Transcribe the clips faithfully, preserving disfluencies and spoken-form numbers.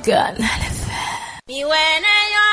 Canal F M. Mi wɛ ne nyɔ,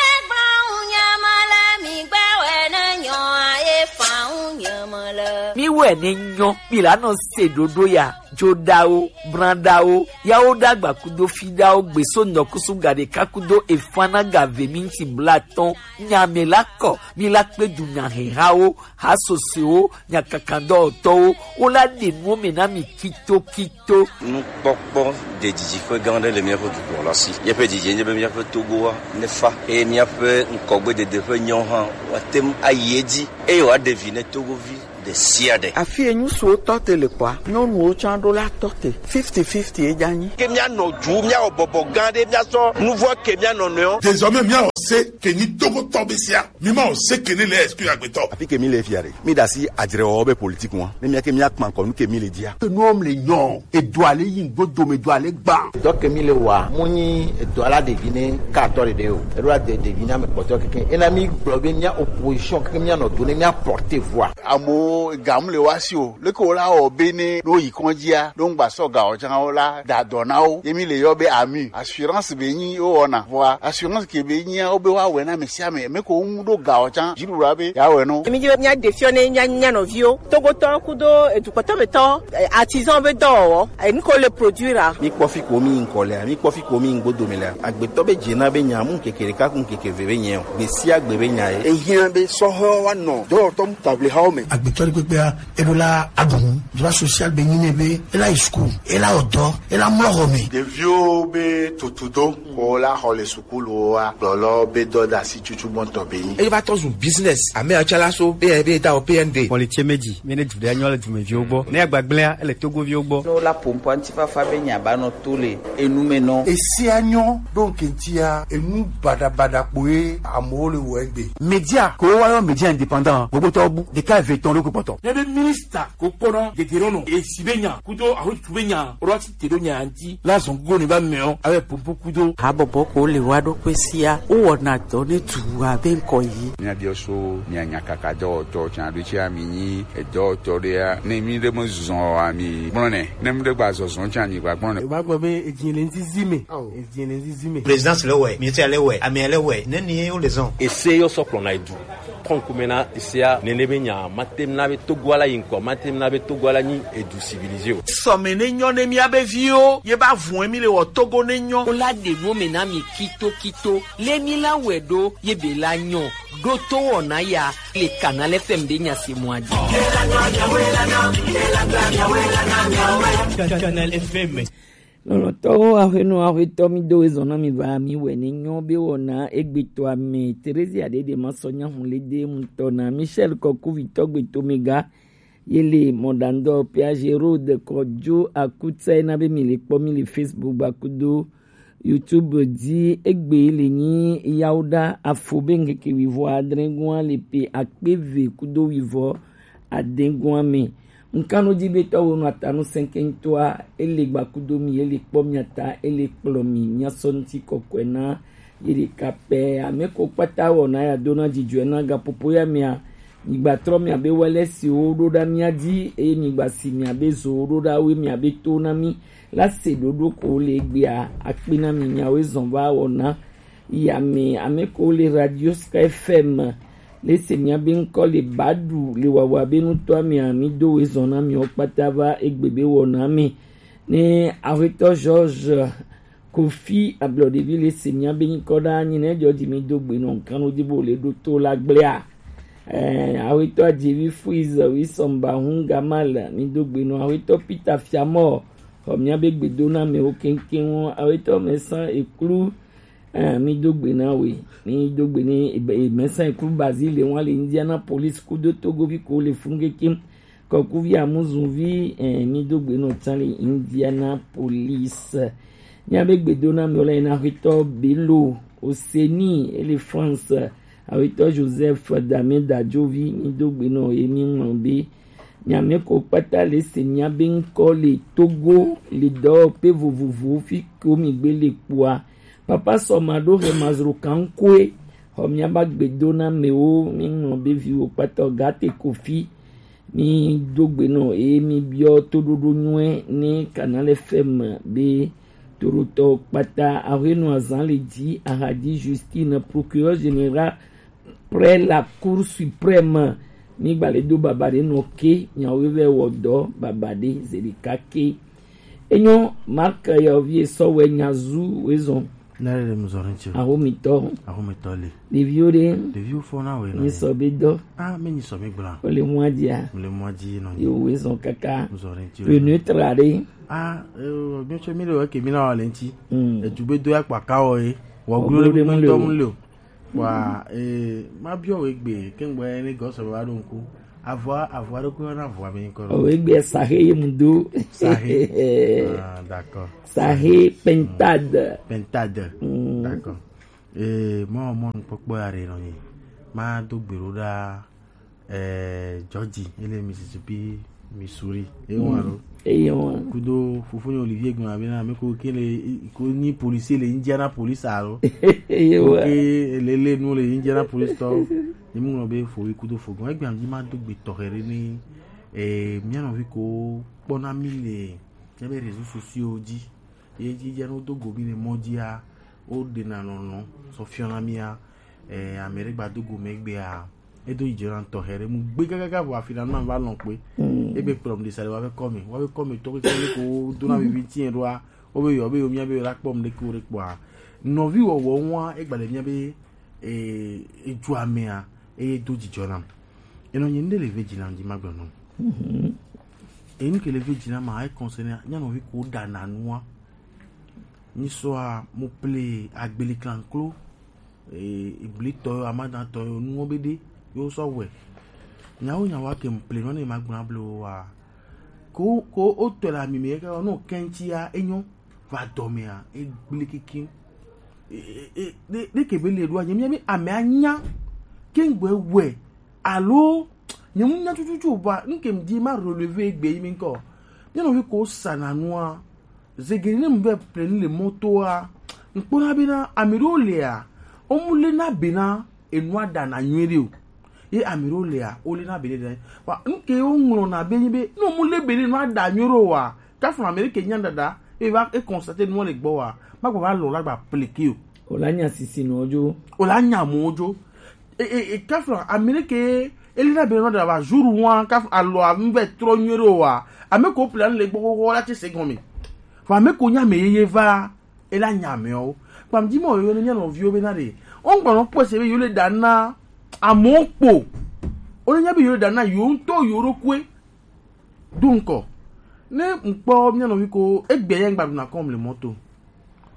e gbawo nyama le, mi gbɛ wɛ ne nyɔ, e fawo nyama le. Mi wɛ ne nyɔ, mi la nɔ se ɖoɖo ya, joɖawo, branɖawo, yawo ɖagba kudo fiɖawo, gbeso nɔkusu gaɖeka kudo efana gave minti blatɔn, nyame la kɔ, mi la kpe du nyahehawo, hasosewo, nyakakadɔwɔtɔwo, wo la ɖe nuwo me na mi kitokito. Nukpɔkpɔ ɖe didiƒe gã aɖe le míaƒe dukɔ la si. Míaƒe didi nye be míaƒe Togoa nefa eye míaƒe ŋkɔgbedede ƒe nyawo hã woate ŋu ayi edzi eye wòaɖe vi ne Togovi ɖe sia ɖe. Afi enyu suwo tɔ te le kpɔa, nyɔnuwo tsã ɖo la tɔ te. Fifty fifty edza nyi. Ke míanɔ dzu, míawɔ bɔbɔ gã ɖe, míasɔ nuvɔ ke míanɔ nɔewo. Désormais, míawɔ se ke nyi Togotɔ be sia. Mi ma o se ke ne le esprit agbetɔ. Afi ke mi le fia ɖe, mi ɖe asi adzrewɔwɔ be politique ŋua. Ne mía ke mía kpa ŋkɔ nu ke mi le dzia. Enuɔ mi le nyɔ, edoa le yi ŋgbo dome, edoa le gba. Dɔ ke mi le wa, mu nyi edoa la ɖevi ne ka atɔ ɖeɖe o. Eɖo la de ɖevi na me kpɔtɔ keke. Ena mi gblɔ be mía opposition keke mía nɔ do ne mía porter voix. Amewo ga mu le wa si o. Leke wo la wɔ be ne ɖo yi kɔndzia, ɖo ŋgba sɔ ga o tsã wo la da dɔ na wo. Ye mi le yɔ be ami. Assurance be nyi wo wɔna. Vɔa assurance ke be nyia wo be wa wɛ na me sia me. Me ko ŋu ɖo ga o tsã. Dziɖuɖua be ya wɛ no. Mi dzi be mía ɖe fiɔ ne mía, mía nɔviwo. Togotɔ kudo edukpɔtɔ me tɔ, eh, artisan be dɔwɔwɔ. Eh, nu ko le produire a. Mi kpɔ fi ko mi ŋkɔ lea, mi kpɔ fi ko mi ŋgbo dome lea. Agbetɔ be dze na be nya mu ŋkeke ɖeka ku ŋkeke ve be nya o. Gbe sia gbe be nya ye. Ehiã be sɔhɔ wa nɔ dɔwɔtɔ mu table hawo me. Agbetɔ ɖe kpekpea, eɖo la aɖu nu, droit social be nyi nɛ be, ela yi school, ela wɔ dɔ, ela mlɔ xɔ me. Ɖeviwo be tutudo, ko la xɔ le sukuluwoa, gblɔlɔ be dɔdeasi tutu gbɔntɔ be nyi. Eye va tɔ zu business, ame atsalaso, be, be da o P N D. Xɔ le tse me dzi, mi ne du ɖe anyɔ le dumeviwo gbɔ. Ne agbagblẽa, ele Togoviwo gbɔ. Ne wola ƒo ŋkɔa ŋutifafa be nya ba nɔ to le enu me nɔ. Esia nyɔ ɖo ŋke ŋutia, enu baɖabaɖa kpoe amewo le wɔ egbe. Média, ko woyɔ média indépendant, gbogbo tɔ bu, ɖeka eve etɔ̃ ɖo kpɔtɔ. Ne be ministre ko kpɔna dedero nɔ, esi be nya, kudo ahotu be nya, ora ti te ɖo nya ŋuti, la zɔn gogo ne ba mɛ o, abe pompo kudo. Habɔbɔ ko le wa ɖo kpe sia, wowɔna dɔ ne du abe ŋkɔ yi. Míabiɔ so, mia nya kaka dɔwɔtɔ, tsa ɖo tsi ami nyi, edɔwɔtɔ ɖea, ne mi ɖe me zɔn ami gblɔ nɛ, ne mi ɖe gba zɔzɔn tsa mi gba gblɔ nɛ. Eva gblɔ be edzi le ŋzizi me. Ao. Edzi le ŋzizi me. Présidence le wɛ, ministère le wɛ, amea le wɛ, ne ni wo le zɔn. Ese yɔ sɔ kplɔna edu. Kɔnkume na esea, nene be nya, matem na be Togo ala yi ŋkɔ, matem na be Togo ala nyi edu civilisé o. Sɔme ne nyɔ ne mía be viwo, ye ba vun mi le wɔ Togo ne nyɔ. Wo la ɖe nuwo me na mi kito kito, le mi la wɛ ɖo, ye be la nyɔ, ɖo to wɔna ya, le Canal F M be nya se mɔ a dzi. Canal F M. Lɔlɔ̃tɔwo, aƒenɔ, aƒetɔ, mi do ezɔ na mi va, mi wɛ ne nyɔ be wɔna egbetɔa me. Theresia ɖeɖe ma sɔ nya hu le de ŋutɔ na Michel Kɔkuvitɔ gbeto mega. Ye le mɔɖaŋdɔ Piaget Road kɔ jo akutsa na be mi le kpɔ mi le Facebook gba kudo YouTube dzi. Egbe le nyi yawo ɖa afo be ŋkeke wivɔ adre gɔa le pe akpe ve kudo wivɔ adegɔa me. Ŋkanodzi be tɔwo nɔ atanu sɛnkɛntɔa, ele gbakudo mi, ele kpɔ mia ta, ele kplɔ mi, mia sɔ ŋuti kɔkɔe na ye ɖeka pɛ. Ame ko kpata wɔ na ya do na dzidzɔe na gapopo ya mia. Mi gba trɔ mia be wɛlɛ siwo ɖo ɖa mia dzi, eye mi gba si mia be zowo ɖo ɖa we mia be to na mi. La se ɖoɖo ko le egbea, akpe na mi miawo zɔn va wɔ na. Yame, ame ko le Radio Sky F M, le se mia be ŋkɔ le baɖu le wawa be nutɔa mea, mi do we zɔn na miwo kpata va egbe be wɔna me. Ne aƒetɔ George Kofi Ablɔɖevi le se mia be ŋkɔ ɖa nyi ne jɔ dzi mi do gbe nɔ ŋkan wo dzi bo le ɖo to la gblea. Eh, aƒetɔ Adzevi Fuiz, Wisɔmba Hungamal, mi do gbe nɔ aƒetɔ Peter Fiamɔ, xɔ mia be gbedo na mewo keŋkeŋ wo, aƒetɔ Mɛsan Eklu, Eh, mi do gbe na we, mi do gbe ne, e, e, mɛsɛn klu Bazile wa le Indianapolis kudo Togovi ko le fun kekem. Kɔkuvi Amuzunvi, eh, mi do gbe no tsan le Indianapolis. Mia be gbedo na mi ole na aƒetɔ Bello Oseni, ele France, aƒetɔ Joseph Dame Dajovi, mi do gbe no ye mi ŋlɔ be. Mia me ko kpata le se mia be ŋkɔ le Togo, le dɔwɔƒe vovovowo fi ko mi gbe le kpua. Papa sɔ ma ɖo he mazro kankoe. Xɔ mia ba gbedo na mewo, mi ŋlɔ be viwo kpata o gate kofi. Mi do gbe nɔ eye mi biɔ toɖoɖo nyuie ne Canal F M be Torotɔ kpata, ahwenu azan le ji, ahadi Justine, procureur général près la Cour suprême. Mi gba le do baba ɖe nɔ ke, nyawo vɛ wɔ dɔ baba ɖe zeɖeka ke. Enyo Mark yɔvi esɔ wɛ nyazu wezɔn. Ne le mu zɔrin tso. Ahomitɔ. Ahomitɔ le. Ɖeviwo ɖe. Ɖeviwo fɔ na wɛ. Nyi sɔ be dɔ. Ah, me nyi sɔ be gbla. O le mua dia. Le mua di nɔ. Yo wezɔn kaka. Mu zɔrin tso. Le neutre ɖe. Ah, eh, mi tso mi le wɛ ke mi na wa le ŋti. Mm. Edu be do ya kpa ka wɔ ye. Wɔ glo ɖe mu le o. Wa, eh, ma biɔ we gbe, ke ŋgbɔ ne gɔ sɔ va ɖo ŋku. Avɔa, avɔa ɖo ko na avɔa be ŋkɔ ɖo. O we gbe sahe ye mu do. Sahe. Ah, d'accord. Sahe pentade. Pentade. Mm. D'accord. Eh, mo mo kpɔkpɔ ya re nɔ ni. Ma do gbero ɖa. Eh, Georgie, ele Mississippi, Missouri. Ewa lo. Ewa. Kudo fofonye Olivier gbɔna bena, ame ko ke le, ko nyi policier le Indianapolis alo. Ewa. Ke le le nu le Indianapolis tɔ. Ni mu ŋlɔ be fo yi kudo fogbɔn. Egbe am di ma do gbe tɔxɛ ɖe ni, eh, mia nɔvi ko kpɔna mi le, ebe réseaux sociaux dzi. Ye dzi dze no do go mi le mɔ dzia, wo ɖena nɔnɔ sɔ fiɔna mia, eh, ame ɖe gba do go mɛ gbea, edo yi dzena tɔxɛ ɖe mu gbe gagaga vɔ afi na ma va lɔn kpe. Mm. Ebe kplɔm de sa le wa be kɔme, wa be kɔme tɔ ke ko do na vivi tiɛ ɖoa, wo be yɔ be yo mia be yo la kpɔm ɖe ko ɖe kpɔa. Nɔvi wɔwɔ ŋua, egba le mia be, eh, edzo amea, eye do dzidzɔ nam. Enɔ nyi ŋɖe le ve dzi nam dzi ma gblɔ nɔ. Mhm. Enu ke le ve dzi nam ma, e concerne nyanɔvi ko ɖa na nua. Nyi sɔa, mo ple agbeli klanklo, eh, ibli tɔ yo, amadan tɔ yo, nuwo be ɖe, yo sɔ wɛ. Nyawo nyawo ke mo ple nɔ ne ma gblɔ blo wa. Ko, ko o tɔ la mi me ke no kɛntia enyo va dɔ mea, e gble kiki. E, e, e, ɖe, ɖe ke be le ɖo a, nye mi, mi ame anya. Ke ŋgbɛ wɛ. Alo, nye mu nya tututu ba, nke m di ma relever egbe yi mi ŋkɔ. Mia nɔvi ko sa na nua. Zegere ne mu be ple ni le mɔtoa. Ŋkpɔna bena, ame ɖewo lea, wo mu le na bena, enua ɖa na nyuie ɖe o. Ye ame ɖewo lea, wo le na bena ɖe. Wa, nke wo ŋlɔ na be nyi be, no mu le bena enua ɖa nyuie ɖe o wa. Kafuna ame ɖe ke nya ɖaɖa, e va, e constate nua le gbɔ wa. Ma gba va lɔ la gba pleke o. O la nya sisi nɔ jo. O la nya mo jo. E, e, e, kafla, ame ɖe ke, eli na be nɔ da va jour wa, kaf, alɔ a ŋvɛ trɔ nyuie ɖo wa. Ame ko ple le gbɔ xɔxɔ la tse se gɔme. Vɔ ame ko nya ame yeye va, e la nya amewo. Kpam dzi mɔ yo ne mia nɔviwo be na ɖe. O ŋgba nɔ kpɔ se be yo le da na amewo kpo. O le nya be yo le da na yo ŋutɔ yo ɖokui. Do ŋkɔ. Ne ŋkpɔ mia nɔvi ko, egbe ya ŋgba ɖuna kɔm le mɔto.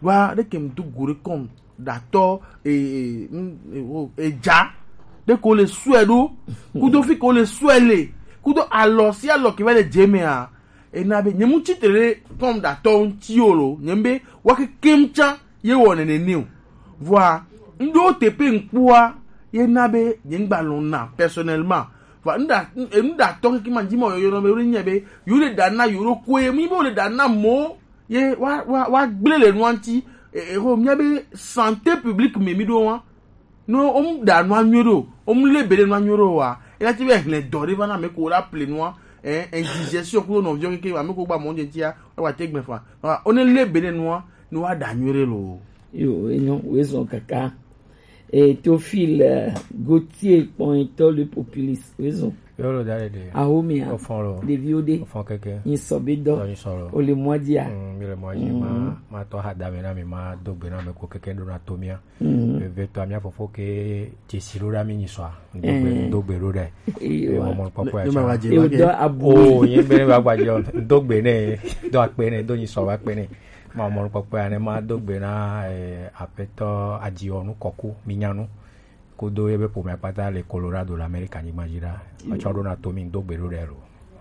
Wa ɖe ke ŋdo go ɖe kɔm ɖatɔ, e, e, n-, e, o, e dza. Ɖe ko le sɔe ɖo. Kudo fi ko le sɔe le. Kudo alɔ si alɔ ke va le dze mea. Ena be, nye mu tsitre ɖe kɔm ɖatɔ ŋuti o lo. Nye be, wa kekem tsa. Ye wɔ nene nɛ o. Vɔa, ŋɖo teƒe ŋkpɔa, ye na be, nye ŋgba lɔ̃ na, personnellement. Vɔa, ŋɖa, ŋ-, ŋɖa tɔ keke ma dzi ma yɔyɔ nɔ be, wo nye be, yo le ɖa na yo ɖo koe, mi be wo le ɖa na mo, ye wa, wa, wa gblẽ le nua ŋuti, e, e, ho, mia be santé publique me mi ɖo wa. No, o mu ɖa nua nyuie ɖo, o mu le be ɖe nua nyuie ɖo wa. E la ti be hlẽ dɔ ɖe va na me ko la ple nua, eh, indigestion kudo nɔviɔ keke, ame ko gba mɔ ŋuti tia, wa te gbe fa. Wa, o ne le be ɖe nua, no wa ɖa nyuie ɖe lo. Yo, enyo, wezɔn kaka. E, Théophile, eh, Gauthier, kpɔnyitɔ le populiste, wezɔn. Yo lo da le de. Ahomia. O fɔn lo. Ɖeviwo ɖe. O fɔn keke. Nyi sɔ be dɔ. Dɔ nyi sɔ lo. O le mɔa dzia. Mm, mi le mɔa dzi. Mm. Ma, ma tɔ ha da me na mi, ma do gbe na me ko keke ɖo na to mia. Mm. Ve, ve tɔ mia fofo ke dzesi ɖo ɖa mi nyi sɔa. Do gbe, mm, do gbe ɖo ɖe. Ewa. Mɔ mɔ kpɔkpɔ ya. Ne ma va dze. Ewa, ma ke. Do abu. O, ye be ne va gba dze o. Do gbe ne, do akpe ne, do nyi sɔ va akpe ne. Ma mɔ kpɔkpɔ ya ne ma do gbe na, eh, apetɔ Adiɔnu Kɔku, mi nya nu. Kudo ye be ƒomea kpata le Colorado le Amerika nyigba dzi ɖa. Wotsɔ ɖo na to mi do gbe ɖo ɖe lo.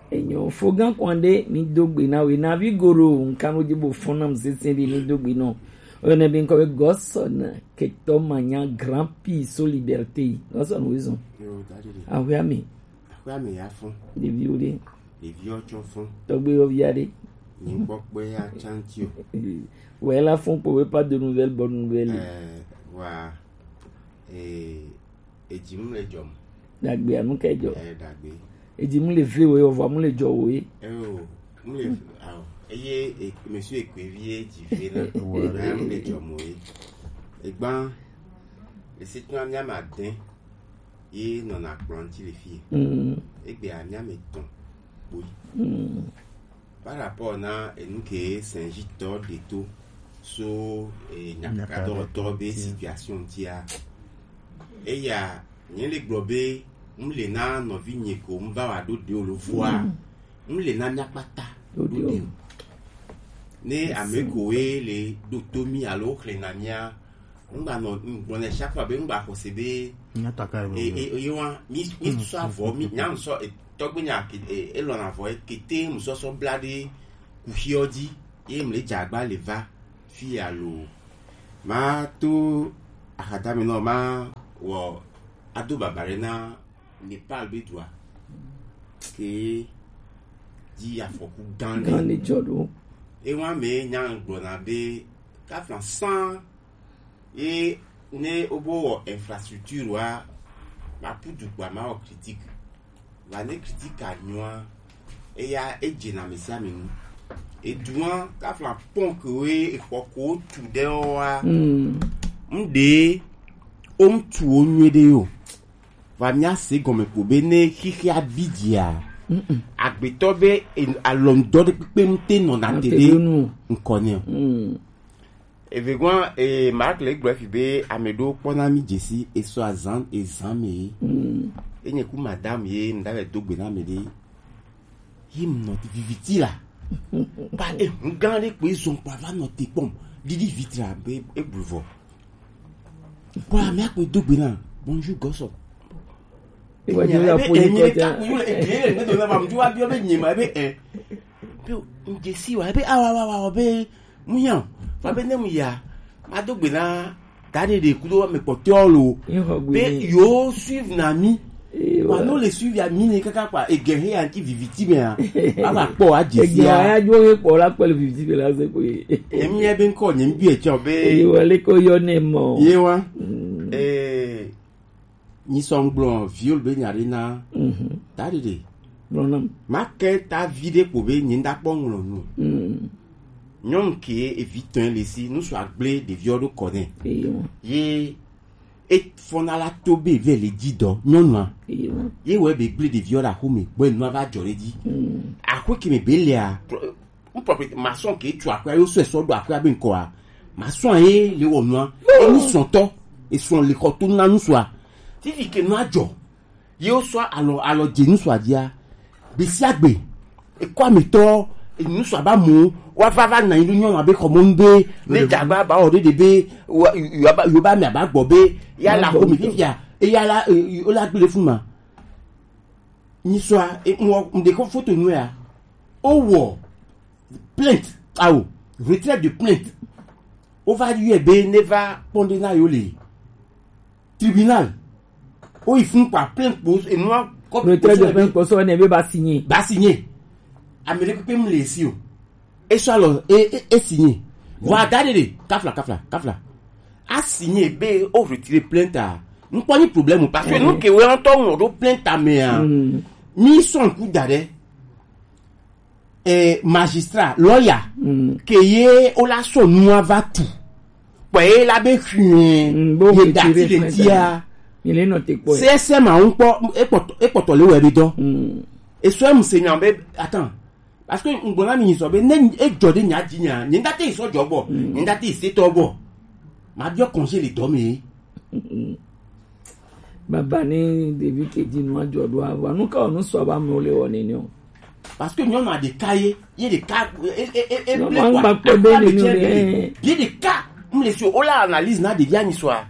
Enyo, fo gã kwan ɖe mi do gbe na we na vi goro nkan wo dzi bo fɔn nam sese ɖe mi do gbe nɔ. Oyɔ ne be ŋkɔ be Gɔsɔn ketɔ manya Grand Prix so liberté. Gɔsɔn wo zɔn. Yo, daddy. Ahwe ami. Ahwe ami ya fun. Ɖeviwo ɖe. Ɖeviwo tsɔ fun. Tɔgbe yɔ via ɖe. Nyi kpɔkpɔ ya chanti o. Wɛ la fun kpɔ we pas de nouvelles, bonne nouvelle. Eh, wa. Eh, Edzi mu le dzɔ mu. Dagbe anu ka dzɔ? Eh, dagbe. Edzi mu le vle wo ye, ovɔ mu le dzɔ wo ye. Eh, o, mu le, awo. Eye e- monsieur Ekwevi ye dzi ve na. Ouais. Na mu le dzɔ mo ye. Egban, le si tuna mia ma den ye nɔna kplɔn ti le fi. Mm. Egbe a mia me tɔn kpoi. Mm. Par rapport na enu ke Saint-Gilles tɔ de to so e nyakadɔwɔtɔ be situation tia. Eya, nye le gblɔ be, m le na nɔvi nye ko, m va wa ɖo ɖe o lo vɔa, m le na mia kpata ɖo ɖe o. Ne ame ko ye le ɖo to mi alo xlẽ na mia, m gba nɔ, m gblɔ na chaque fois be m gba xɔse be, e, e, e, wa, mi, mi sɔ avɔ, mi, nya m sɔ, e, tɔgbe nya, e, e, e lɔna avɔ, e, kete, m sɔ sɔ bla ɖe kuxiɔ dzi, ye m le dze agba le va fi alo. Ma to axadame nɔ ma wɔ ado baba ɖe na Nepal be dua ke dzi afɔku gã ɖe. Gã ɖe dzɔ ɖo. Ewa me nya gblɔna be kafla san ye ne wobo wɔ infrastructure wa ma pu du kpa ma wɔ critique. Va ne critique anyɔa, eya edze na ame sia ame nu. Edua kafla pɔn ke we exɔ ko tu ɖe wa. Mm. Ŋɖe wo ŋtu wo nyuie ɖe yo. Va mia se gɔme ko be ne xixia bi dzia. Mm-mm. Agbetɔ be e- alɔndɔ ɖe kpekpe ŋute nɔna te ɖe ŋkɔ nɛ o. Mm. Evegɔa, e, Mark le gblɔ fi be ame ɖewo kpɔna mi dzesi esɔ azan ezan me ye. Mm. Enye ku madame ye ŋda vɛ do gbe na ame ɖe. Yi m nɔ viviti la. Ba ehu gã ɖe kpe zɔn kpa va nɔ te kpɔm. Didi vitra be eblu vɔ. Kpɔ ame akpe do gbe na. Bonjour gɔsɔ. Ewa, enyi la ebe fo enyi ɖe kɔta. Kaku yule egli le ŋgbe do na ma mu wa biɔ be nyi ma ebe e. Be ŋdze si wa ebe awa wa wa be mu ya. Fa be ne mu ya ma do gbe na da ɖe ɖe kudo me kpɔtɔ lo. Be yo suivre na mi. Wa no le suivre ya mi ne kaka kpa ege he ya ki viviti me ya. Aba kpɔ a dze si ya. Ege ya jo he kpɔ la kpɔ le viviti me la se ko ye. Emi ebe nkɔ nye mbi e tsɔ be. Ewa le ko yɔ ne mɔ. Ye wa. Mm. Eh, Nyi sɔ ŋgblɔ viol be nya ɖe na. Mhm. Ta ɖeɖe. Gblɔ nam. Ma ke ta vi ɖe kpo be nyi nda kpɔ ŋlɔ nu. Mm. Nyɔnu ke evi tɔn le si, nu sɔ agble ɖeviɔ ɖo kɔ nɛ. Eyo. Ye e fɔna la to be ve le dzi dɔ, nyɔnua. Eyo. Ye wɔ be gble ɖeviɔ ɖe axome, gbɔ enua va dzɔ ɖe dzi. Mm. Axwe ke me be lea, N propriété, maçon ke tu aƒea, yo sɔe sɔ ɖo aƒea be ŋkɔa. Maçon ye le wɔ nua. Enu sɔtɔ, esɔ le xɔ to na nusua. Fifi ke nua dzɔ. Ye wo sɔ alɔ, alɔ dze nusua dzia. Gbe sia gbe. Ekɔ ametɔ, enusua ba mu, wa va va na yi nyɔnu abe xɔmɔnu be, ne dagba ba o ɖe ɖe be, wa, yo ba, yo ba me aba gbɔ be, ya la xɔ mi fifia, e ya la, e, o la gble fun ma. Nyisɔa, e, mɔ, mɖe kɔ foto nu ya. O wɔ plainte, awo, retrait de plainte. O va yɔe be ne va kpɔn ɖe na yo le tribunal. O yi fun kpa plainte kpo, enua kɔ retrait de plainte kpo sɔ ne be ba signé. Ba signé. Ame ɖe kpekpe mu le si o. E sɔ alɔ, e, e, e signé. Vɔ ada ɖe ɖe, kafla, kafla, kafla. A signé be o retire plainte a. N kpɔ ni problème o, parce que nu ke wɛ ŋutɔ ŋlɔ ɖo plainte a mea. Mm. Mi sɔ ŋku da ɖe. Eh, magistrat, lawyer, ke ye o la sɔ nua va tu. Kpɔ ye la be xue. Mm, bo ye retire dati le plainte tia. Mi le nɔ te kpɔ. C S M a ŋkpɔ, e kpɔtɔ, e kpɔtɔ le wɛ be dɔ. Mm. E sɔ mu se nya be, attends. Parce que ŋgblɔ na mi nyisɔ be ne edzɔ ɖe nya dzi nya, nye ŋdate yi sɔ dzɔ gbɔ, nye ŋdate yi setɔ gbɔ. Ma biɔ congé le dɔ me. Baba ne ɖevi ke dzi nua dzɔ ɖo avɔ, nu ka wɔ nu sɔ ba mlo le wɔ nene o. Parce que nyɔnua ɖeka ye, ye ɖeka, e, e, e, e, nyɔnua ble ŋgba kpɔ be nene o ɖe. Ye ɖeka, m le si o la analyse na ɖevia nyisɔa.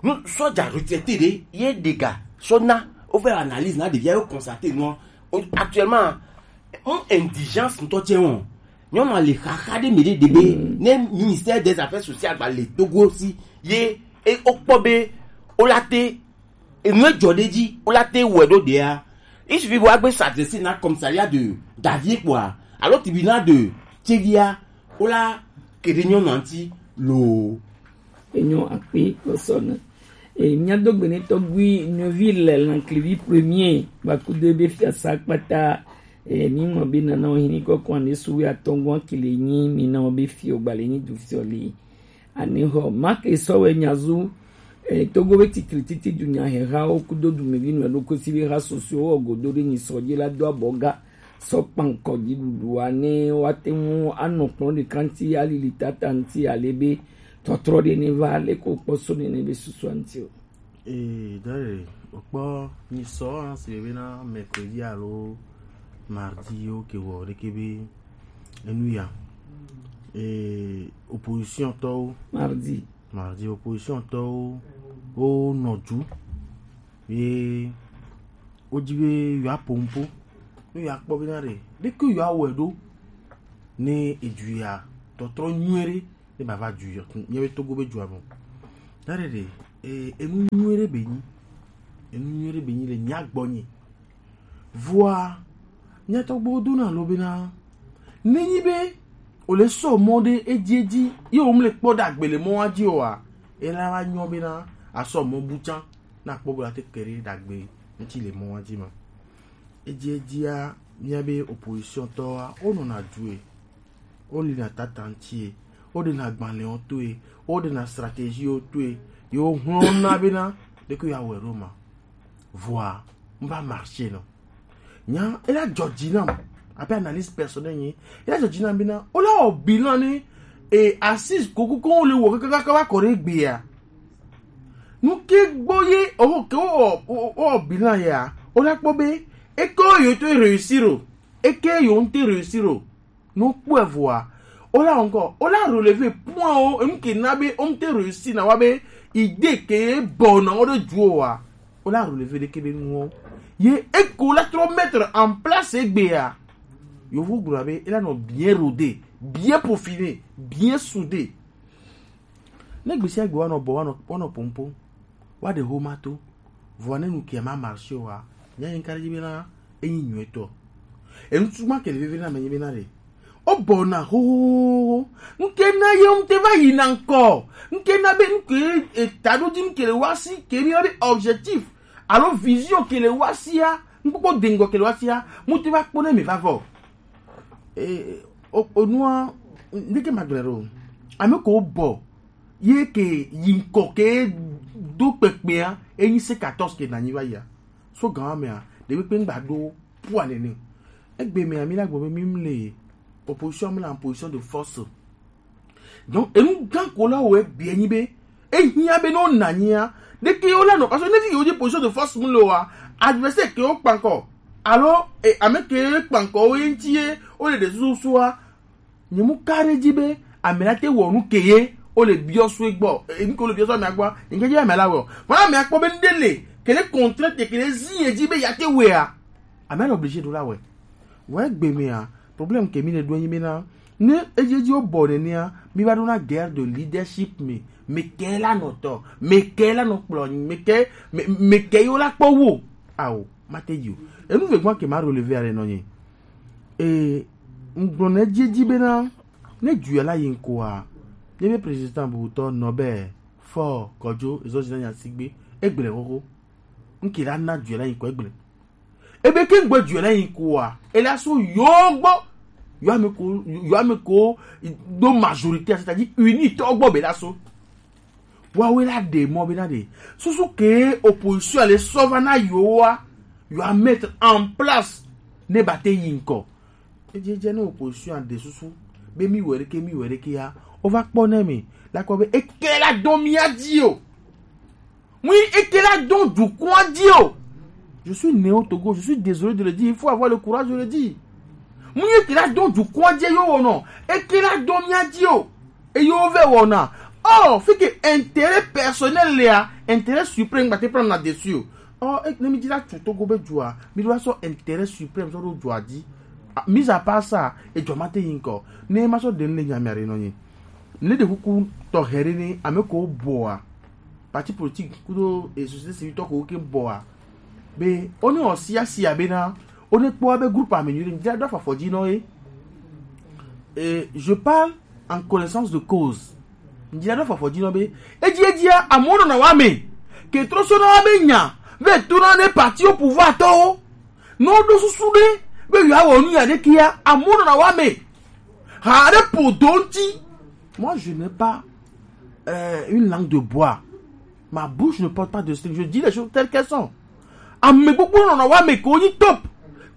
Nu sɔdza retraité ɖe ye ɖe ga sɔ na wova analyse na ɖevia yo constaté nua. Actuellement, un indigence ŋutɔ tsɛ wɔn. Nyɔnua le xaxa ɖe mi ɖe ɖe be ne ministère des affaires sociales gba le Togo si ye e o kpɔ be o la te enu edzɔ ɖe dzi o la te wɔe ɖo ɖea. Il suffit be woagbe s'adresser na commissariat de Davie kpɔa alo tribunal de Tsevia o la ke ɖe nyɔnua ŋuti loo. Enyo akpe kɔsɔna. E, mía do gbe ne tɔgbi nyɔvi le Lanklivi premier, ba kudo ebe fiasa kpata, E, mi mɔ be nana wo hini kɔkɔ ane su wi atɔngɔn kile nyi mi na wo be fi o gbale nyi du fi o le. Ane hɔ, ma ke sɔ wɛ nyazu, e, Togo be titri titi du nya he ha wo kudo du mi vi nu e do ko si be ha soso wo godo de nyi sɔ je la do abɔ ga. Sɔ kpankɔ ji dudu ane wa te mu anɔ kplɔ de kanti alili tata nti ale be tɔtrɔ de ne va ale ko kpɔ so ne ne be susu anti o. Ee, dare, okpɔ nyisɔ hã si bena mercredi alo mardi yewo ke wɔ ɖeke be enu ya. Ee, opposition tɔwo. Mardi. Mardi, opposition tɔwo wo nɔ ju ye wo dzi be yewoa po nupo. Ne yewoa kpɔ bena ɖe ɖeke yewoa wɔe ɖo ne edu ya tɔtrɔ nyuie ɖe ne bava du yɔ míabe Togo be dua me. Dare ɖe, e, enu nyuie ɖe be nyi. Enu nyuie ɖe be nyi le mía gbɔ nyi. Vɔa, mía tɔgbuiwo dona lo bena, ne nyi be o le sɔ mɔ ɖe edzi edzi, ye wo mle kpɔ ɖe agbe le mɔa dzi oa, ela va nyɔ bena asɔ mɔ bu tsã, na kpɔ be la te ke ɖe ɖe agbe ŋuti le mɔa dzi ma. Edzi edzia, mía be opposition tɔwoa, wo nɔna due. Wo lina tata ŋutie, wo ɖena agbalẽwo toe, wo ɖena stratégie wo toe, ye wo hlɔ̃na bena ɖeke ya wɔe ɖo ma. Vɔa, n va marché nɔ. Nya, ela dzɔ dzi nam, abe analyse personnelle nye, ela dzɔ dzi nam bena, wo la wɔ bilan ne, e, assise kokoko wo le wɔ kakaka va kɔ ɖe egbea. Nu ke gbɔ ye, o ke wo, o, o, o bilan ya, wo la kpɔ be, eke wo yo to réussir o, eke yo ŋute réussir o. No kpɔe vɔa, o la encore, o la relever point o, enu ke na be o ŋute réussir na wa be idée ke bɔ na o ɖe du o wa. O la relever ɖeke be nuwo. Ye eko la trɔ mettre en place egbea. Yovo gblɔ be, ela nɔ bien rodé, bien peaufiné, bien soudé. Ne gbe sia gbe woanɔ bɔ, woanɔ, woanɔ pompo, woaɖe xoma to, vɔa ne nu kia ma marché oa, mía nyi ka ɖe dzi bena enyi nyuietɔ. Enu tutu ma ke le vevie na ame nyi bena ɖe, wobɔna xoxoxo. Nu ke na ye ŋute va yina ŋkɔ. Nu ke na be nu ke, e, taɖodzi nu ke le wa si, ke mi na be objectif alo vision ke le wa sia, nukpɔkpɔ de ŋgɔ ke le wa sia, mu te va kpɔ ne mi va vɔ. E, o, o nua, ndeke ma gblẽ ɖo. Ame ko bɔ, ye ke yi ŋkɔ ke do kpekpea, enyi C quatorze ke nanyi va yia. So gan mea, ɖe kpekpe ŋgba ɖo pua nene. Egbe mea, mi la gblɔ be mi mle opposition, mi le en position de force. Donc, enu gã ko la wɔ ebia nyi be, ehiã be ne wona anyia, ɖeke yewo la nɔ, parce que ne vi yewo dzi position de force mu le wa, adversaire ke wo kpankɔ, alo, e, ame ke kpankɔ wo ye ŋuti ye, wo le ɖe susu sua, nye mu ka ɖe dzi be, ame la te wɔ nu ke ye, wo le biɔ sue gbɔ, e, nu ke wo le biɔ sue amea gbɔa, nye ke dzi be ame la wɔ. Vɔa amea kpɔ be nu ɖe le, ke le contrainte, ke le zi ye dzi be ya te wɔea. Ame le obligé ɖo la wɔe. Vɔ egbe mea, problème ke mi le ɖo enyi bena, ne edzi edzi wo bɔ nenea, mi va ɖona guerre de leadership me. Me ke la nɔ tɔ, me ke la nɔ kplɔ nyi, me ke, me, me ke yo la kpɔ wo. Ao, ma te yi o. Enu ve gbɔn ke ma relever ale nɔ nyi. E, ŋgblɔ ne edzi edzi bena, ne du ya la yi ŋkɔa, ne be président bubutɔ nɔ be, fɔ, kɔdzo, ezɔ zi na nya sigbe, egble xoxo. Ŋke la na du ya la yi ŋkɔ egble. Ebe ke ŋgbe du la yi ko wa, ele aso yo gbɔ. Yo ame ko, yo ame ko do majorité, c'est-à-dire uni tɔ gbɔ be la so. Wa we la de mɔ be na de. Susu ke opposition le sɔ va na yo wa, yo a mettre en place ne ba te yi ŋkɔ. Edze dze ne opposition a de susu be mi wɛ ɖeke, mi wɛ ɖeke ya, o va kpɔ ne mi la kpɔ be eke la do mia dzi o. Mu yi eke la dɔn dukɔa dzi o. Je suis né au Togo, je suis désolé de le dire, il faut avoir le courage de le dire. Mu yi eke la dɔn dukɔa dzi yo wonɔ, eke la dɔn mia dzi o. Eye wo vɛ wɔna. Oh, fi ke intérêt personnel lea, intérêt suprême gba te prendre na dessus o. Oh, e, ne mi dzi la tu Togo be dua, mi do sɔ intérêt suprême sɔ do dua dzi. Ah, mis à part ça, e dua ma te yi ŋkɔ. Ne ma sɔ de ne nya mi are nɔ nyi. Ne de kuku tɔ hɛre ne ame ko bɔa. Parti politique kudo e société civile tɔ ko ke bɔa. Be, o ne o sia sia be na, o ne kpɔ be groupe ame nyuie, mi dzi la do afɔ dzi nɔ ye. Et je parle en connaissance de cause. Mi dzi la do afɔ dzi nɔ be, edzi edzia, amewo nɔna wa me. Ke trɔ sɔ na wa be nya, ve to na ne parti au pouvoir tɔwo. Ne woɖo susu ɖe, Pe yo awo ni ade kia, amono na wa me. Ha de podo nti. Moi, je n'ai pas euh, une langue de bois. Ma bouche ne porte pas de string. Je dis les choses telles qu'elles sont. Ame gbogbo nɔnɔ wa me ko nyi top.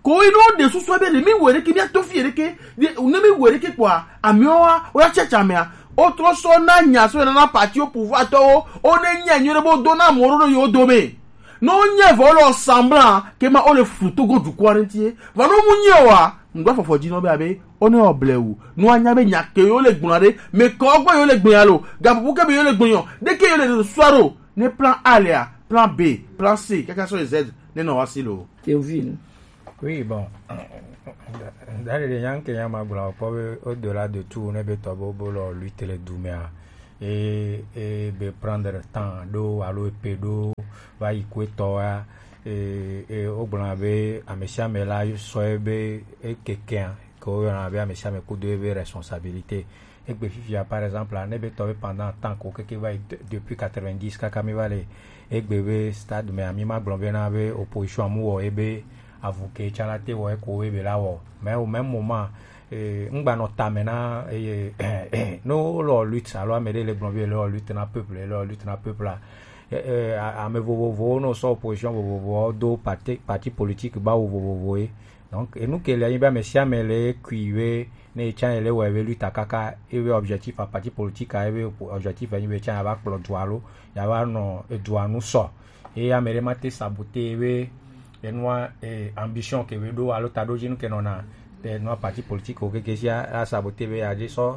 Ko yi no de susu be de mi were ke mi ato fi ere ke. De ne mi were ke kwa. Ami wa o ya checha me a. O tro so na nya so na na parti au pouvoir to o. O ne nya nyo bo do na moro no yo do me. No nya vo lo semblant ke ma o le futo go du quarantie. Va no mu nyo wa. Ŋgba fɔfɔ dzi nɔ be abe wone wɔ blewu. Nua nya be nya ke yo le gblɔ ɖe, me kɔ gbe yo le gblɔ ya lo, gaƒoƒo ke be yo le gblɔ yɔ, ɖe ke yo le ɖo sua ɖo. Ne plan A lea, plan B, plan C, kaka sɔ yi Z, ne nɔ wa si lo. Théophile. Oui, bon. Dali de yan ke yan ma gblɔ kpɔ be au-delà de tout ne be tɔ bo bo lɔ lutte le du mea. E e be prendre temps ɖo alo epe ɖo va yi kuetɔ wa. E e wogblɔna be ame sia ame la sɔ ebe ekekea ke woyɔna be ame sia ame kudo ebe responsabilité. Egbe fifia par exemple ne be tɔ be pendant temps ko keke va yi de- depuis quatre-vingt-dix kaka mi va le egbe be stade me ami ma gblɔ be na be opposition amu wɔ ebe avu ke tsã la te wɔ eko ebe la wɔ mais au même moment e ŋgba nɔ tame na eye ne wole lutte alo ame ɖe le gblɔ be le lutte na peuple le lutte na peuple a e- e- a- ame vovovowo ne wosɔ opposition vovovowo do parti parti politique bawo vovovowo ye. Donc enu ke le anyi be ame sia ame le kui be ne etsã ele wɔ ebe lutte kaka ebe objectif a parti politique a ebe objectif anyi be etsã ya va kplɔ dua lo ya va nɔ edua nu sɔ. Eye ame ɖe ma te sabote be enua e, ambition ke be ɖo alo taɖodzinu ke nɔna enua parti politique wo keke sia a sabote be yeadze sɔ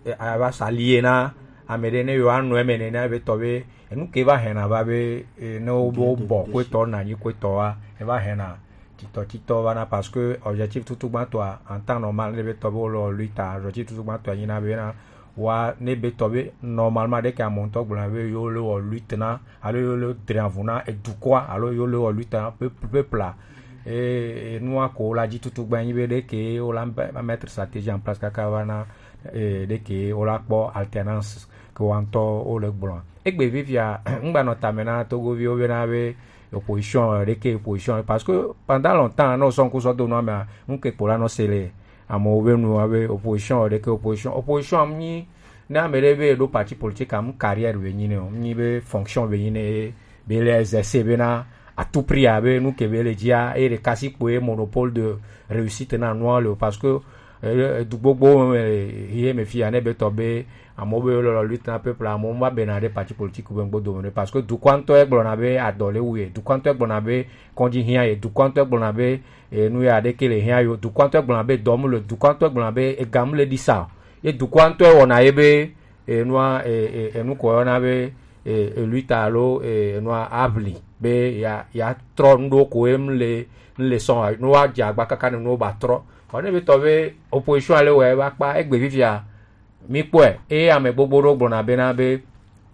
e, ava sa lie na ame ɖe ne yewoanɔ eme nene be tɔ be enu ke va hɛna va be e, ne wo be wobɔ kuetɔ na anyi kuetɔ wa eva hɛna titɔ titɔ va na parce que objectif tutugbãtɔa en temps normal ne be tɔ be wole lutte a objectif tutugbãtɔa nyina be na wa ne be tɔ be normalement ɖeke ame ŋutɔ gblɔna be yewo le wɔ lutte na alo yewo le dre avu na edukɔa alo yewo le wɔ lutte na peuple a e nua ko wola dzi tutu gbe anyi be ɖeke wola mettre stratégie en place kaka va na e ɖeke wola kpɔ alternance ke wa ŋutɔ wole gblɔ egbe vivia ŋgba nɔ tame na togoviwo bena be opposition ɖeke opposition parce que pendant longtemps ne wosɔ ŋku sɔ do nua mea ŋke kpo la nɔ se le amewo be nu be opposition ɖeke opposition opposition am nyi ne ame ɖe be eɖo parti politique am carrière be nyi ne o nyi be fonction be nyi ne be le exercer be na à tout prix abe nu ke be le dzia eye ɖeka si kpoe monopole de réussite na nua le o parce que eh, du gbogbo me ye me fia ne be tɔ be amewo be lɔlɔ lutte na peuple amewo va bena ɖe parti politique be ŋgbo dome ɖe parce que dukɔa ŋutɔ egblɔna be adɔ le wu ye dukɔa ŋutɔ egblɔna be kɔdzi hiã ye dukɔa ŋutɔ egblɔna be eh, nu ya ɖeke le hiã yo dukɔa ŋutɔ egblɔna be dɔm le dukɔa ŋutɔ egblɔna be egam le ɖi sa ye dukɔa ŋutɔ ewɔna ye be enua enukɔ yɔna be eluita alo enua abli be ya ya trɔ nuɖo ko em le nle sɔn no wa dze agba kaka ne no ba trɔ ɔ ne be tɔ be opposition ale wɔ ebe akpa egbe fifia mi kpɔe eye ame gbogbo ɖo gblɔna bena be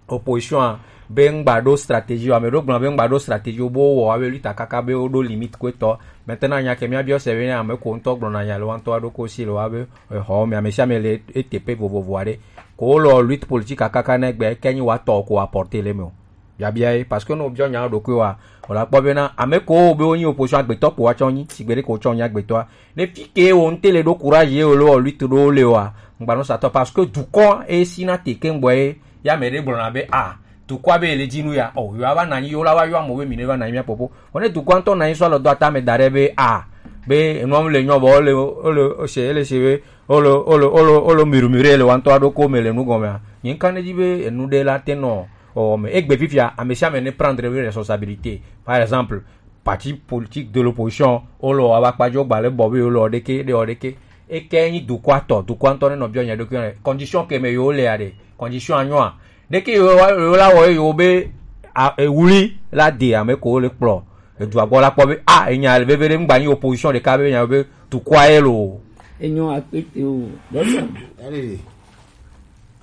opposition a be ŋgba ɖo stratégie o ame ɖo gblɔna be ŋgba ɖo stratégie o bo wɔ abe luita kaka be wo ɖo limite ko etɔ maintenant nya ke mia biɔ se be ne ame ko ŋutɔ gblɔna nya le wa ŋutɔ aɖo ko si le wa be exɔ me ame sia ame le eteƒe vovovo aɖe ko wole lutte politique kaka ne gbe ke nyi wa tɔ ko apporter le me o biabia ye parce que ne wobiɔ nya ɖokui wa wòle akpɔ bena ame ko be wonyi opposition agbetɔ ko wa tsɔ nyi sigbe ɖe ko tsɔ nyi agbetɔa ne fi ke wo ŋute le ɖo courage ye wole wɔ lutte ɖo le wa ŋgba no satɔ parce que dukɔ e si na te ke ŋgbɔ ye ya me ɖe gblɔna be a dukɔa be ele dzi nu ya o yo ava nanyi yo la wa yo amo be mi ne va nanyi mia popo o ne dukɔa ŋutɔ nanyi sɔ alɔ do ata me da ɖe be a be enua mu le nyɔ bɔ ole ole ose ele se be olo olo olo olo mirumiri ele wa ŋutɔ aɖo ko me le nu gɔmea nye ŋka ne dzi be enu ɖe la te nɔ ɔwɔ me egbe fifia ame sia ame ne prendre be responsabilité par exemple parti politique de l'opposition olo wa ba kpa jo gba le bɔ be olo ɖeke ɖe o ɖeke eke nyi dukɔa tɔ dukɔa ŋutɔ ne nɔ biɔ nya ɖokui ne condition ke me yo le ya ɖe condition anyɔa ɖeke yo wa yo la wɔ yo be a ewuli la de ame ko le kplɔ edua gbɔ la kpɔ be a enya le veve ɖe ŋgba nyi opposition ɖeka be nya be dukɔa ye lo. Enyo akpete o. Dɔnni. Allez.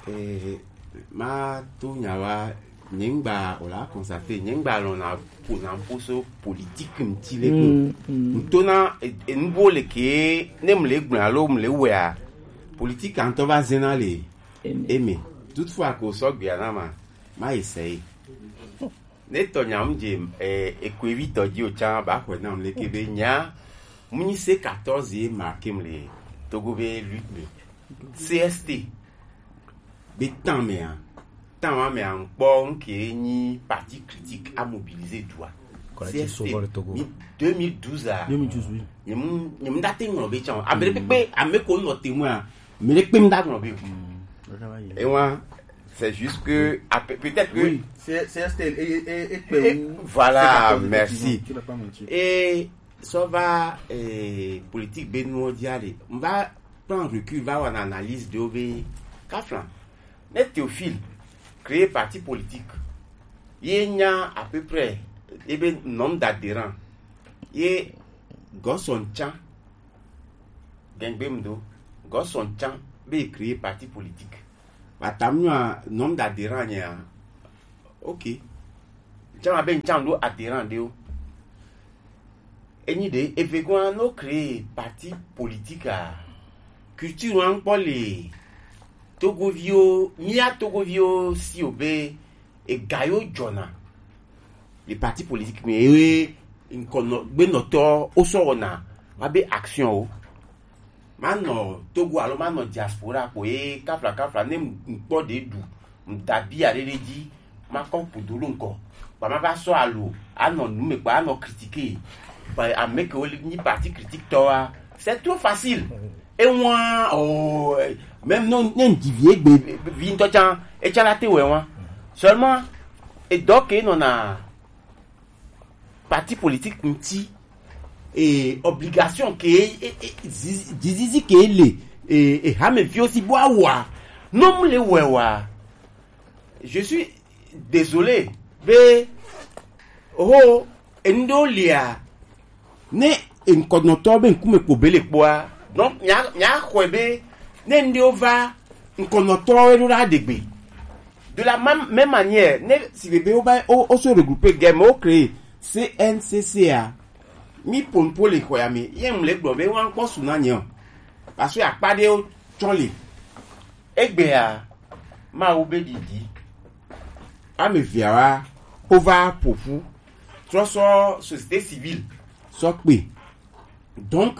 Eh, ma to nya wa nye ŋgba o la constater nye ŋgba lɔna ƒona ƒo so politique ŋuti le ko ŋtona enuwo le ke ne mle gblɔ alo mle wɔa politique ŋutɔ va zena le eme toutefois ko sɔgbea na ma ma essayer ne tɔ nya ŋdze eh, ekoevi tɔ dzi o tsã ba xɔe nam leke be nya Mu nyi C quatorze ye marqué mu le Togo be lutte me. C S T be temps me a temps wa me a ŋkpɔ ŋke nyi parti critique a mobiliser du a. Collectif C S T Sauvons le Togo. Mi deux mille douze a. Deux mille douze, oui. Nyem nyem da te ŋlɔ be tsan. Ame ɖe kpekpe ame ko nɔ témoin a. Ame ɖe kpe mi da ŋlɔ be. Et moi, c'est juste que peut-être que oui. C'est c'est un style et et et et voilà, merci. Tu n'as pas menti. Et ça va, eh, politique be nuwo dzi a ɖe. M va prendre recul, va wɔna analyse de be kafla. Ne Théophile créer parti politique, ye nya à peu près ebe nombre d'adhérents ye Godson tsã. Gengbe m do Godson tsã be créer parti politique. Bata m nyɔa nombre d'adhérents nyea. Ok. Tsã ma be n tsã do adhérent ɖewo. Enyi ɖe evegoa no créer parti politique a, culture wa ŋkpɔ le Togoviwo, mía Togoviwo si o be ega yo jɔna le parti politique me ye ŋkɔ nɔ gbenɔtɔ wo sɔ wɔna wa be action o. Manɔ Togo alo manɔ diaspora kpo ye kafla kafla ne ŋkpɔ ɖe ɖu ŋdabi aɖe ɖe dzi makɔ kudo ɖo ŋkɔ. Kpa ma va sɔ alo anɔ nu me kpa anɔ critiquer. Kpa ame ke wo li nyi parti critique tɔ wa. C'est trop facile. Ewa o même non ne ŋdi vi egbe vi ŋtɔ tsan etsa la te wɛ wa. Seulement edɔ ke nɔna parti politique ŋti, eh, obligation ke eh, eh, zizi- dzizizi ke le eh, eh, hameviwo si bo awa nom le wɛwa. Je suis désolé be ho enuɖewo lia ne eŋkɔnɔtɔ be ŋkume kpo be le kpoa donc mia mia xɔe be ne nuɖewo va ŋkɔnɔtɔwo ɖo ɖa ɖegbe. De la même, même manière ne si bebe wo ba wo wo so regrouper gɛ me wo créer C N C C a. Mi ponpo le xɔ ya me ye ŋu le gblɔ be wa ŋkpɔ su na nye o. Parce que akpa ɖewo tsɔ le egbea Mawu be ɖiɖi ame viawa wo va ƒoƒu trɔ sɔ société civile sɔ kpe. Donc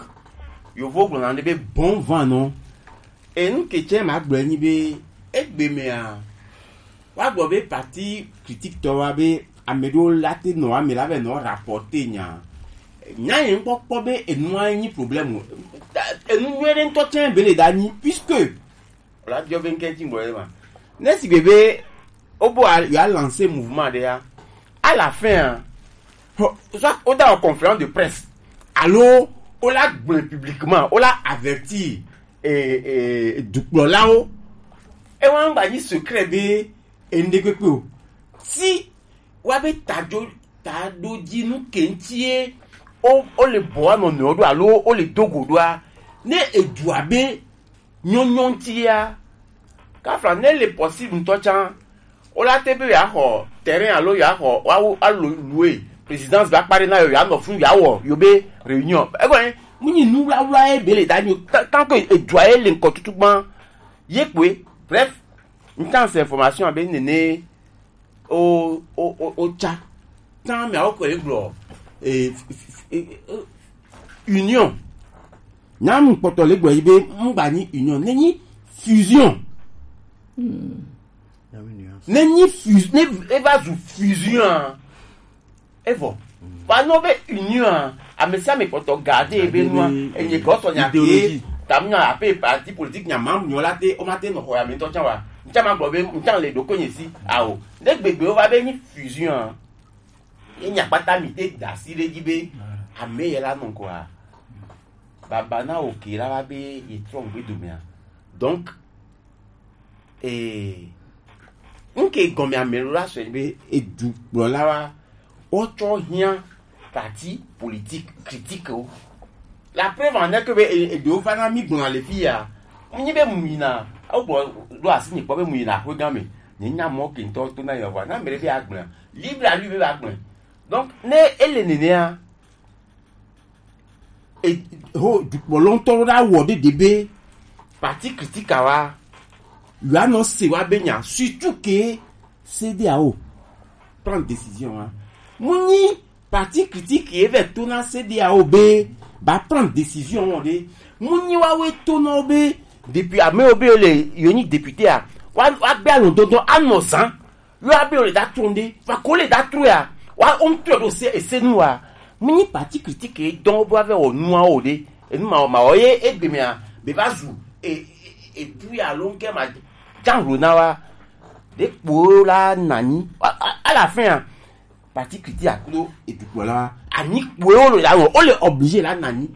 yovo gblɔna ɖe be bon vent nɔ. Enu ke tsɛ ma gblɔe nyi be egbe mea wa gblɔ be parti critique tɔ wa be ame ɖewo la te nɔ ame la be nɔ rapporter nya nya yɛn kpɔkpɔ be enua nyi problème o. Enu nyuie ɖe ŋutɔ tsɛ be le da nyi puisque la diɔ be ŋkɛ ti gbɔ ye ma ne si gbe be o bo a ya lancer mouvement ɖe ya à la fin hein, soit o da conférence de presse alo o la gblɔe publiquement o la avertir eh, eh, dukplɔlawo. Ewa ŋgba nyi secret be ende kpekpe o si wa be tadzo taɖo dzi nu ke ŋuti ye o o le bɔ wa nɔnɔewo ɖo alo o le do go ɖoa ne edua be nyɔnyɔ ŋuti ya kafla ne le possible ŋutɔ tsã o la te be ya xɔ terrain alo ya xɔ wa wo alo louer présidence va kpa ɖe na yo ya nɔ funu ya wɔ yo be réunion egɔn mu nyi nu wlawla ye be le da nyi tant que edua ye le ŋkɔ tutu gbã ye kpoe. Bref n tan se information abe nene o o o o tsa tan mɛ awo kɔ egblɔ eh, union nyamu kpɔtɔ le gblɔ yi be ŋgba nyi union ne nyi fusion ne nyi fus ne eva zu fusion a evɔ va nɔ be union a amesiame kpɔtɔ garde ebe nua enye gɔsɔ nya ke tamu nya ape parti politique nya mamu nyɔ la te o ma te nɔ xɔ ya me ŋutɔ tsã wa ŋutsa ma gblɔ be ŋutsa le ɖoko nye si awo ne gbegbe wo va be nyi fusion a ye nya kpata mi te da asi ɖe dzi be ame ye la nɔ ŋkɔa baba na wo ke la va be ye trɔ ŋgbe domea donc ee ŋke gɔme ame ɖo la sɔ be edukplɔla wa wotsɔ hiã parti politique critique wo. La preuve en est que be eɖewo va na mi gbɔna le fi ya mu nyi be mu yina wogbɔ ɖo asi nyi kpɔ be mu yina aƒe gã me nye nya mɔ ke ŋutɔ to na yewa na ame ɖe be agblẽ libre à lui be agblẽ donc ne ele nenea e ho dukplɔla ŋutɔ ɖo ɖa wɔ ɖe ɖe be parti critique wa yoanɔ se wa be nya surtout que C D A O prend décision wa mu nyi parti critique ye vɛ to na C D A O be ba prendre décision ŋɔ ɖe. Mu nyi wa we to nɔ be depuis ame wo be le yo nyi député a, wa wa gbe alɔ dodo anɔ zan. Yo abe le da tun ɖe, va ko le da tru ya. Wa o ŋutɔ ɖo se ese nu wa. Mu nyi parti critique e dɔn wo be wa vɛ wɔ nua wo ɖe. Enu ma ma wɔ ye egbe mea be va zu e e e tu ya lo ŋkɛ ma jan lo na wa. Ɖe kpo la nanyi. À la fin a, parti critique akudo e tu kpo la wa. Anyi kpo wo lo la wɔ, o le obligé la nanyi.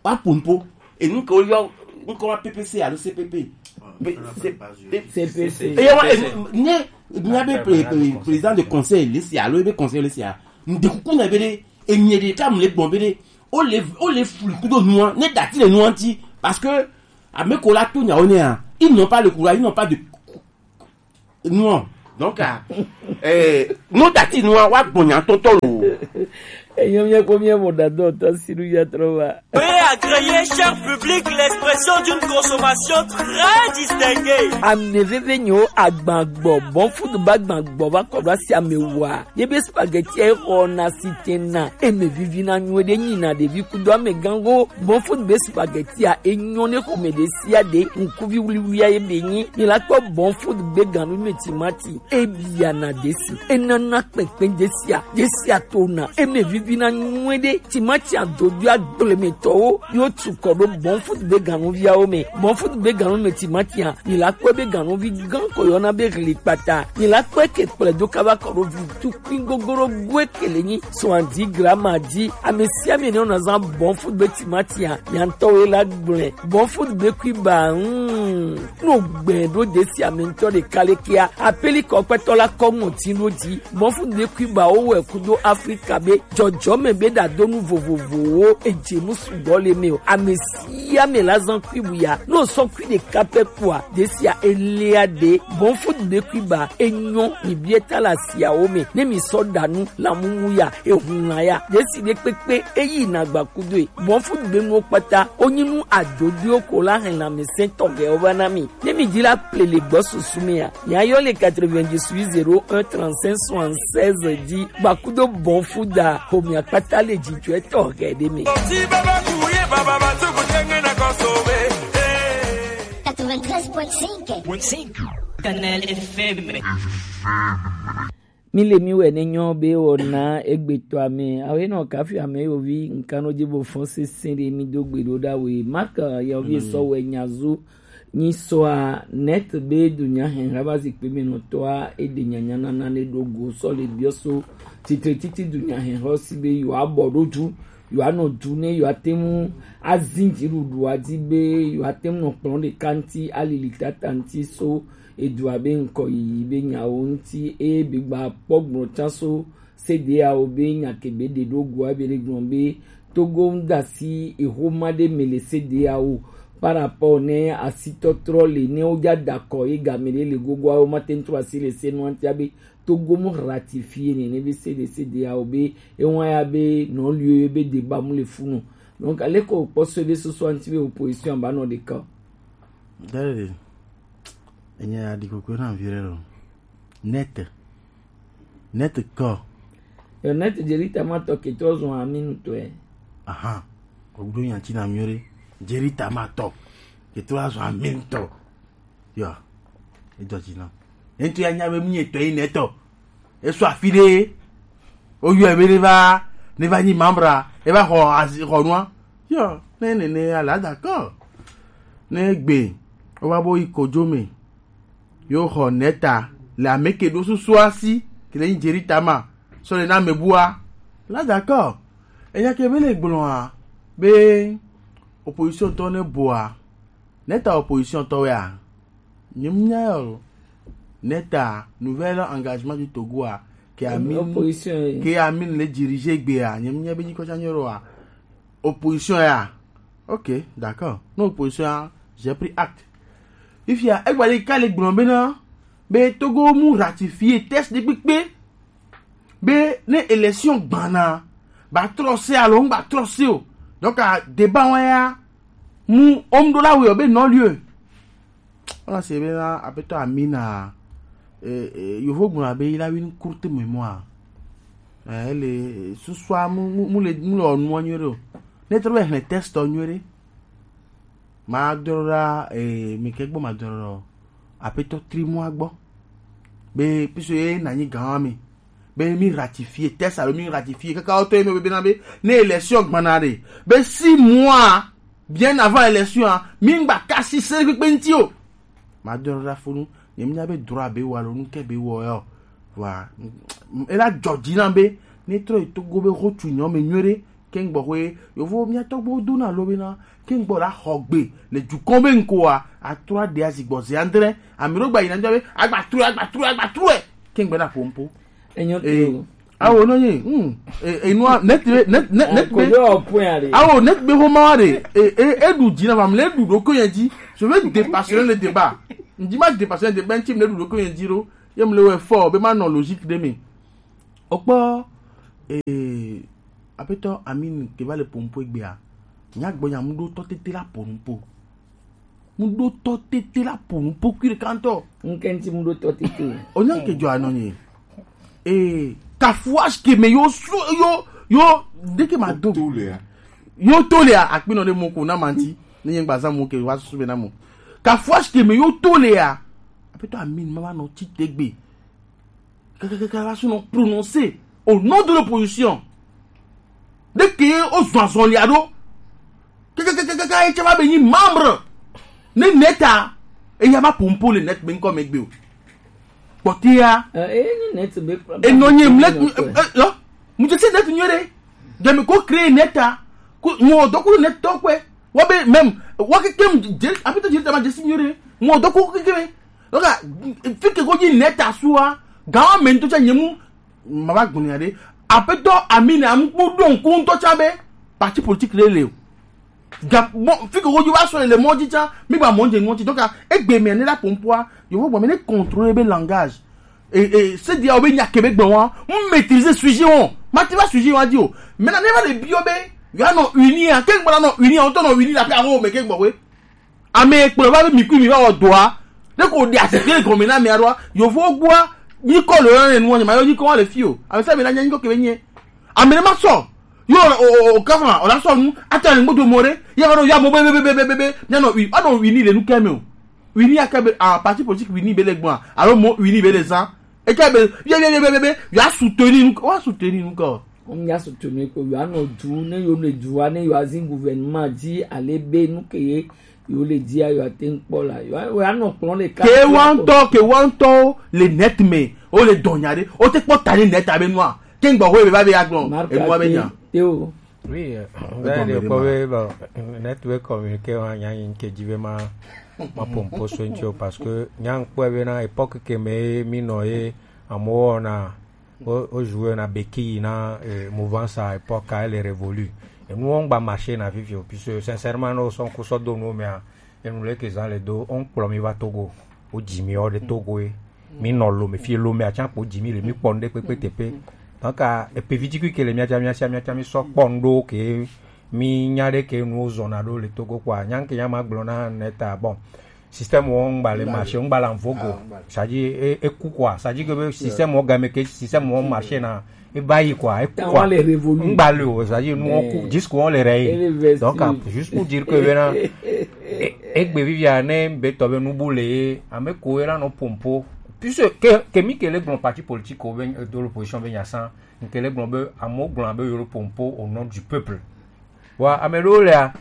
Wa pompo. Enu ke woyɔ ŋkɔ wa P P C alo C P P. Pe- se- pe- C P C. Eye wa enu- ne mía be pre- pre- président de conseil le sia alo ebe conseil le sia, ŋde kuku na be ɖe, enye ɖe tam le gbɔn be ɖe, o le o le flu kudo nua ne dati le nua ŋti, parce que ame ko la to nyawo nea, ils n'ont pas le courage, ils n'ont pas de Non. Donc, ah, eh, no dati no wa gbɔnya tɔtɔ lo. Enyo mi ko mi mo da do to siru ya trova. Veuillez agréer, cher public, l'expression d'une consommation très distinguée. Ame veve nyo agbagbɔ, bon food ba gbagbɔ ba kɔ ba si ame wa. Ye be spaghetti e ho na sitena. E me vivi na nyo de nyi na de vi kudo ame gango. Bon food be spaghetti a enyo ne ko me de si a de. Nkuvi wuli wuli a ye be nyi. Ni la kpɔ bon food be ganu me timati. Ebia na desi. Enana kpɛnkpɛn desi a. Desi a to na. Eme vivi na nyuie ɖe. Timati a dodo a gble me tɔwo. Yo tu kɔ ɖo bon food be ganuviawo me. Bon food be ganu me timati a. Mi la kpɔe be ganuvi gan ko yɔna be hli kpata. Mi la kpɔe ke kplɛ do kaba kɔ ɖo vi tukui gogoro goe kele nyi. Soixante-dix grammes a di. Ame sia ame ne na zan bon food be timati a. Nya ŋutɔ wo la gblẽ. Bon food be kui ba. Hmm. No gbɛ ɖo desi ame ŋutɔ ɖeka le kia. Apeli kɔ kpɛtɔ la kɔ ŋɔti ɖo dzi. Mɔfu de kui ba wo wɛ kudo Afrika be jɔjɔme be ɖadonu vovovowo edze nu sugbɔ le me o. Ame sia ame la zan kui bu ya. No sɔ kui ɖeka pɛ kua, desia elia de. Mɔfu de kui ba enyɔ mi bie ta la siawo me. Ne mi sɔ ɖa nu la mumu ya, ehun la ya. Desi ɖe kpekpe eyi na gba kudo e. Mɔfu de nuwo kpata, onyi nu adodoewo ko la hɛn lãmesẽ tɔxɛwo va na mi. Ne mi di la ple le gbɔ susu mea, mia yɔ le quatre-vingt-dix-huit zéro un trente-cinq soixante-seize di gbakudo bɔn fu da homia kpata le jijɔɛ tɔxɛ ɖe me. Quatre-vingt-treize point cinq. Kanal F M. Mi le mi wɛ ne nyɔ be wɔna egbetɔ ame. Awo enɔ kafi ame yovi nkan no dzi bo fɔn sese ɖe mi do gbe ɖo ɖa we. Mark yɔvi sɔ wɛ nya zu nyi sɔa net be dunya hɛn haba zikpe me nɔ tɔa eɖe nyanya nana ne ɖo go sɔ le biɔ so titre titi dunya hɛn hɔ si be yewoa bɔ ɖo du yewoa nɔ du ne yewoa te ŋu azin dziɖuɖua dzi be yewoa te ŋu nɔ kplɔ ɖeka ŋuti alili tata ŋuti so edua be ŋkɔ yiyi be nyawo ŋuti eye be gba kpɔ gblɔ can so C D A O be nya ke be ɖe ɖo goa be ɖe gblɔ be Togo ŋu da asi eho ma ɖe me le C D A O par rapport ne asitɔtrɔ le ne wo ja da kɔ ye game ɖe le gogoa wo ma te ŋu trɔ asi le se nua ŋutia be Togo mu ratifier ne ne be C D C D A O be ewa ya be non lieu be débat mu le funu. Donc aleko kpɔ so be soso ŋuti be opposition ba nɔ ɖeka. Dale. Enye ya ɖi koklo na vi ɖe lo. Net. Net kɔ. Yo net Jerita ma tɔ ke trɔ zɔn ami nutɔe. Aha. Kogdo nya ti na mi ɖe. Jerita ma tɔ ke trɔ zɔn ami nutɔ. Yo. E dɔ ti na. Ento ya nya be mi etɔ yi netɔ. E so afi ɖe. O yɔ be ne va ne va nyi mambra. E va xɔ azi xɔ nua. Yo. Ne ne ne ala d'accord. Ne gbe. O va bo yi kojo me. Yo xɔ neta le ame ke ɖo susu asi ke le nyi Jerita ma sɔ le na ame bua. La d'accord. Enya ke be le gblɔa be opposition tɔ ne boa neta opposition tɔ wea nyem nya yo neta nouvel engagement du Togo a ke amin opposition ke amin le diriger gbea nyem nya be nyi kɔsa nyoro a opposition ya. Ok, d'accord. No opposition ya, j'ai pris acte. Ifia egba le ka le gblɔ be na be Togo mu ratifier test de kpekpe be ne élection gbana ba trɔ se alo n ba trɔ se o. Donc a débat wa ya mu om do la wo be non lieu. Ona se be na apeto Amina eh, eh, yovo gblɔ be il a une courte mémoire. Eh, ele susua mu mu mu le mu le ɔnua nyuie ɖe o. Ne trɔ be hlẽ test ɔ nyuie ɖe. Ma dɔ ɖa, eh, mi ke gbɔ ma dɔ ɖa, apetɔ tri mois gbɔ. Be puisque ye na nyi gan mi. Be mi ratifier test alo mi ratifier kaka o to ye mi be na be ne élection gbana ɖe. Be six mois bien avant élection a, mi gba kasi se kpekpe nti o. Ma dɔ ɖa funu, ne mi nya be droit be wa lo nu ke be wɔ yo. Wa, ela jɔ dzi na be ne trɔ yi Togo be ho tu nyɔ me nyuie ɖe. Ke ŋgbɔ hoe yovo mía tɔgbuiwo dona lo bena ke ŋgbɔ la xɔ gbe le dukɔ be ŋkoa, atrɔ aɖe azi gbɔ ze andre. Ame ɖewo gba yina be agba true, agba true, agba true. Ke ŋgbɛ na ƒo ŋpo. Enyo te o. Awo no ye. Hmm. E, e nua net be net net net be. Awo net be ho ma de. E e e du dzi na va mle du do ko ye dzi. Je vais dépassionner le débat. Ndi ma dépassionner le débat, nti mle du do ko ye dzi ro. Ye mle we fo be ma nɔ logique de me. Okpɔ, eh, apetɔ Amine ke va le pompo egbea. Nya gbɔ nya mu ɖo tɔ tete la po nupo. Mu ɖo tɔ tete la po nupo kui ɖeka ŋutɔ. Ŋke ŋti mu ɖo tɔ tete o. Onya ŋke jɔ anɔ nye. Eh, kafuash ke me yo so yo yo de ke ma do. To le ya. Yo to le ya akpinɔ de mo ko na manti. Ne yɛn gba zan mo ke wa susu be na mo. Kafuash ke me yo to le ya. Apetɔ Amine ma va nɔ ti te gbe. Kakakaka la sɔnɔ prononcer au nom de l'opposition. De ke o zɔn azɔn lia ɖo. Kakakaka e tsɛ va be nyi membre. Ne neta e ya ma pompo le net be ŋkɔ me gbe o. Kpɔtia. Eh, eh, ni net be. E nɔ nye mle. Eh, eh, lo. Mu je se net nyuie ɖe. Demi ko créer neta. Ko mo do ko net tɔ kwe. Wa be même wa ke kem je apito je ta ma je si nyuie ɖe. Mo do ko ke ke. Oka, fi ke ko dzi neta sua, gawa me ŋutɔ tsa nye mu, ma va gblɔ nya ɖe. Apetɔ Amine Amukpu ɖo ŋku ŋutɔ tsa be parti politique le le o. Ga bon, fi ke ko dzi va sɔ le mɔ dzi tsa, mi gba mɔ dze ŋɔ dzi. Donc, egbe me ne la pompoa, yo vo gba me ne contrôler be langage. Et, et c'est dire o be nya ke be gbɔ wa, mu maîtriser sujet o. Ma ti va sujet wa di o. Maintenant, ne va le bio be, yo no uni a, ke gbɔ no uni a, o to no uni la pe a ho me ke gbɔ we. Ame kplɔ va be mi kui mi va wɔ dɔa. Ne ko ɖe asi ke gɔme na ame aɖoa. Yovo gbɔa. Mi kɔ le yɔ ne nua nyama yɔ yi kɔ wa le fi o. Ame sa mi na nya yi kɔ ke be nye. Ame ne ma sɔ. Yo o o o kafa o la sɔ nu. Ata ne gbodo mo re. Ya va ɖo ya mo be be be be be be. Nya no wi. A no wi ni le nu ke me o. Wi ni aka be a parti politique wi ni be le gbɔa. Alo mo wi ni be le zan. E ke be ye ye ye be be be. Ya soutenir nu. Wa soutenir nu ko. Ŋ ya soutenir ko. Ya no du ne yo le du ne yo azin gouvernement di ale be nu ke ye. Yo le dia yo ate ŋkpɔ la. Yo yo anɔ kplɔ le ka. Ke wa ŋutɔ ke wa ŋutɔ le net me. O le dɔnya ɖe. O te kpɔ ta ne net abe nua. Ke ŋgbɔ ho ebe va be ya gblɔ. Enua be nya. Te o. Oui, euh, vous avez des problèmes, hein. Bon, network communiqué wa nya yin ke dzi be ma ma pompo so ŋtsi o parce que nya ŋkpɔ be na époque ke me mi nɔ ye amowo na o o jouer na béquille na eh, mouvance à époque à elle révolue. Et nous on va marcher na vivre puisque sincèrement nous sommes kusɔ do nous mais enu leke zã le do, woŋkplɔ mi va Togo, wodzi mi wɔ ɖe Togo ye. Mi nɔ Lome, fi Lome atsã kpo dzi mi le, mi kpɔ nu ɖe kpekpe teƒe. Donc, ah, epe vi dzi kui ke le miatsã, miatsã, miatsã, mi sɔ kpɔ nu ɖewo ke mi nya ɖe ke nuwo zɔna ɖo le Togo kpɔa. Nya ke nya ma gblɔ na ne ta, bon, système wo ŋgba le marché, ŋgba le en vogue o. C'est-à-dire, e, e ku quoi. C'est-à-dire que be système wo game ke, système wo marché na, e va yi quoi, e ku quoi. Ŋgba le o, c'est-à-dire, nous, on court, jusqu'où on les raye. Donc, ah, juste pour dire que maintenant, e, egbe vivia ne be tɔ be nubu le, ame ko era no pompo. Puisque, ke, ke mi ke le gblɔ parti politique o be, de l'opposition be nya san, ke le gblɔ be, amo gblɔ be yo le pompo au nom du peuple. Wa, ame ɖewo lea,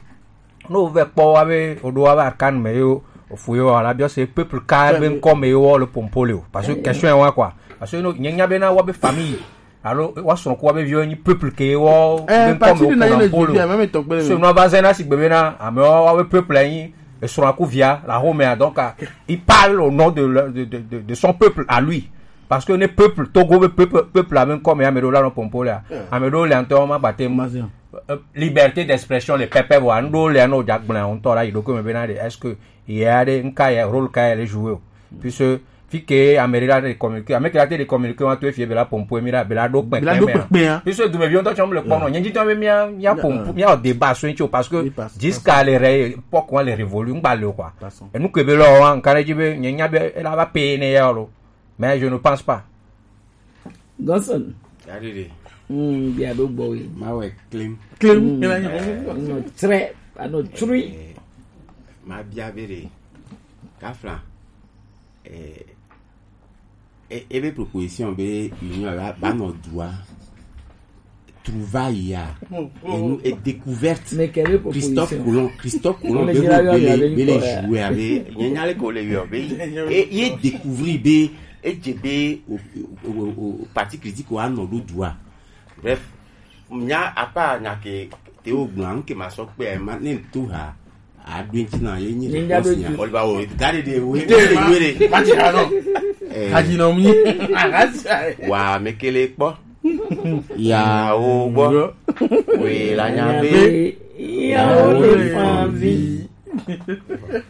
ne wovɛ kpɔ wa be woɖo wa be Arcane me yewo, ofu yewo, ala biɔ se peuple ka be ŋkɔ me yewo le pompo le o. Parce que question ye wa quoi. Parce que no, nye nya be na wa be famille, alo wa srɔ̃ ku wa be viwo nyi peuple ke wo be ŋkɔ me wo pompo le o. So no va zɛna si gbe be na, ame wa wa be peuple nyi, esrɔ̃ ku via, la home a, donc, ah, il parle au nom de, le- de, de, de, de son peuple à lui. Parce que ne peuple, Togo be peuple, peuple ame ŋkɔ me ame ɖewo la no pompo le a. Ame ɖewo le ŋutɔ ma gbate mu. Euh, liberté d'expression le pɛpɛ vɔ anu ɖewo le anu dza gblẽ ŋutɔ la yi ɖokui me bena ɖe est-ce que ye aɖe ŋka ye rôle ka ye le jouer o puisque fi ke ame ɖe la te communiquer ame ke la te de communiquer wa to efie be la pompo mi la be la ɖo kpɛkpɛ me puisque dumeviwo ŋutɔ tsɔ mu le kpɔ nɔ nye ŋutɔ be mia mia pompo mia wɔ débat so ŋutsi o parce que jusqu'à le ré époque wa le révolu ŋgba le o quoi enu ke be lɔ wa ŋka ɖe dzi be nye nya be ela va payer ne ya o lo mais je ne pense pas. Godson. Aɖeɖe. Mm, bia ɖo gbɔ we. Ma wɛ clean. Clean. Mm. Ela nyo. Eh, no tre, ano trui. Eh, ma bia be ɖe. Kafla. Eh, e, ebe proposition be union ba, ba nɔ dua. Trouvaille ya. Enu e découverte. Mais quelle est Christophe proposition? Colomb, Christophe Colomb be be be le be le jouer avec. Nyanya le ko le yo be. E ye découvrir be e je be o, o, o, o parti critique wa nɔ do dua. Bref, nya apa nya ke te o gbɔn ke ma sɔ pe ma ne to ha. A do ŋti na ye nyi. Nya be nya. Oliver o gade de we. De we de. Ma ti ha no. Eh. Ka ji no mi. Wa mekele kpɔ. Yawo gbɔ. We la nya be. Yawo le fan vi.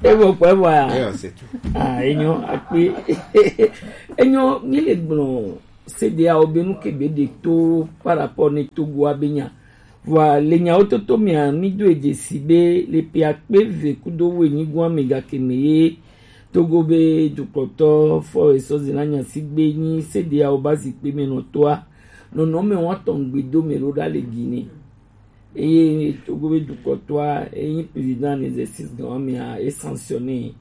Evo kpɔ evo ya. Eyo, c'est tout. Ah, enyo akpe. Enyo, mi le gblɔ. C D A O be nu ke be ɖe to par rapport ne Togo a be nya. Vɔa le nyawo toto mea, mi do e dzesi be le pe akpe ve kudo wuienyi gɔn me gake me ye Togo be dukɔtɔ fɔ esɔ zina nya si gbe nyi C D A O ba zikpe me nɔtɔa. Nɔnɔ me wa tɔn gbe do me ɖo ɖa le Guinée. Eye Togo be dukɔtɔa, eyi président en exercice gan mea, e sanctionné.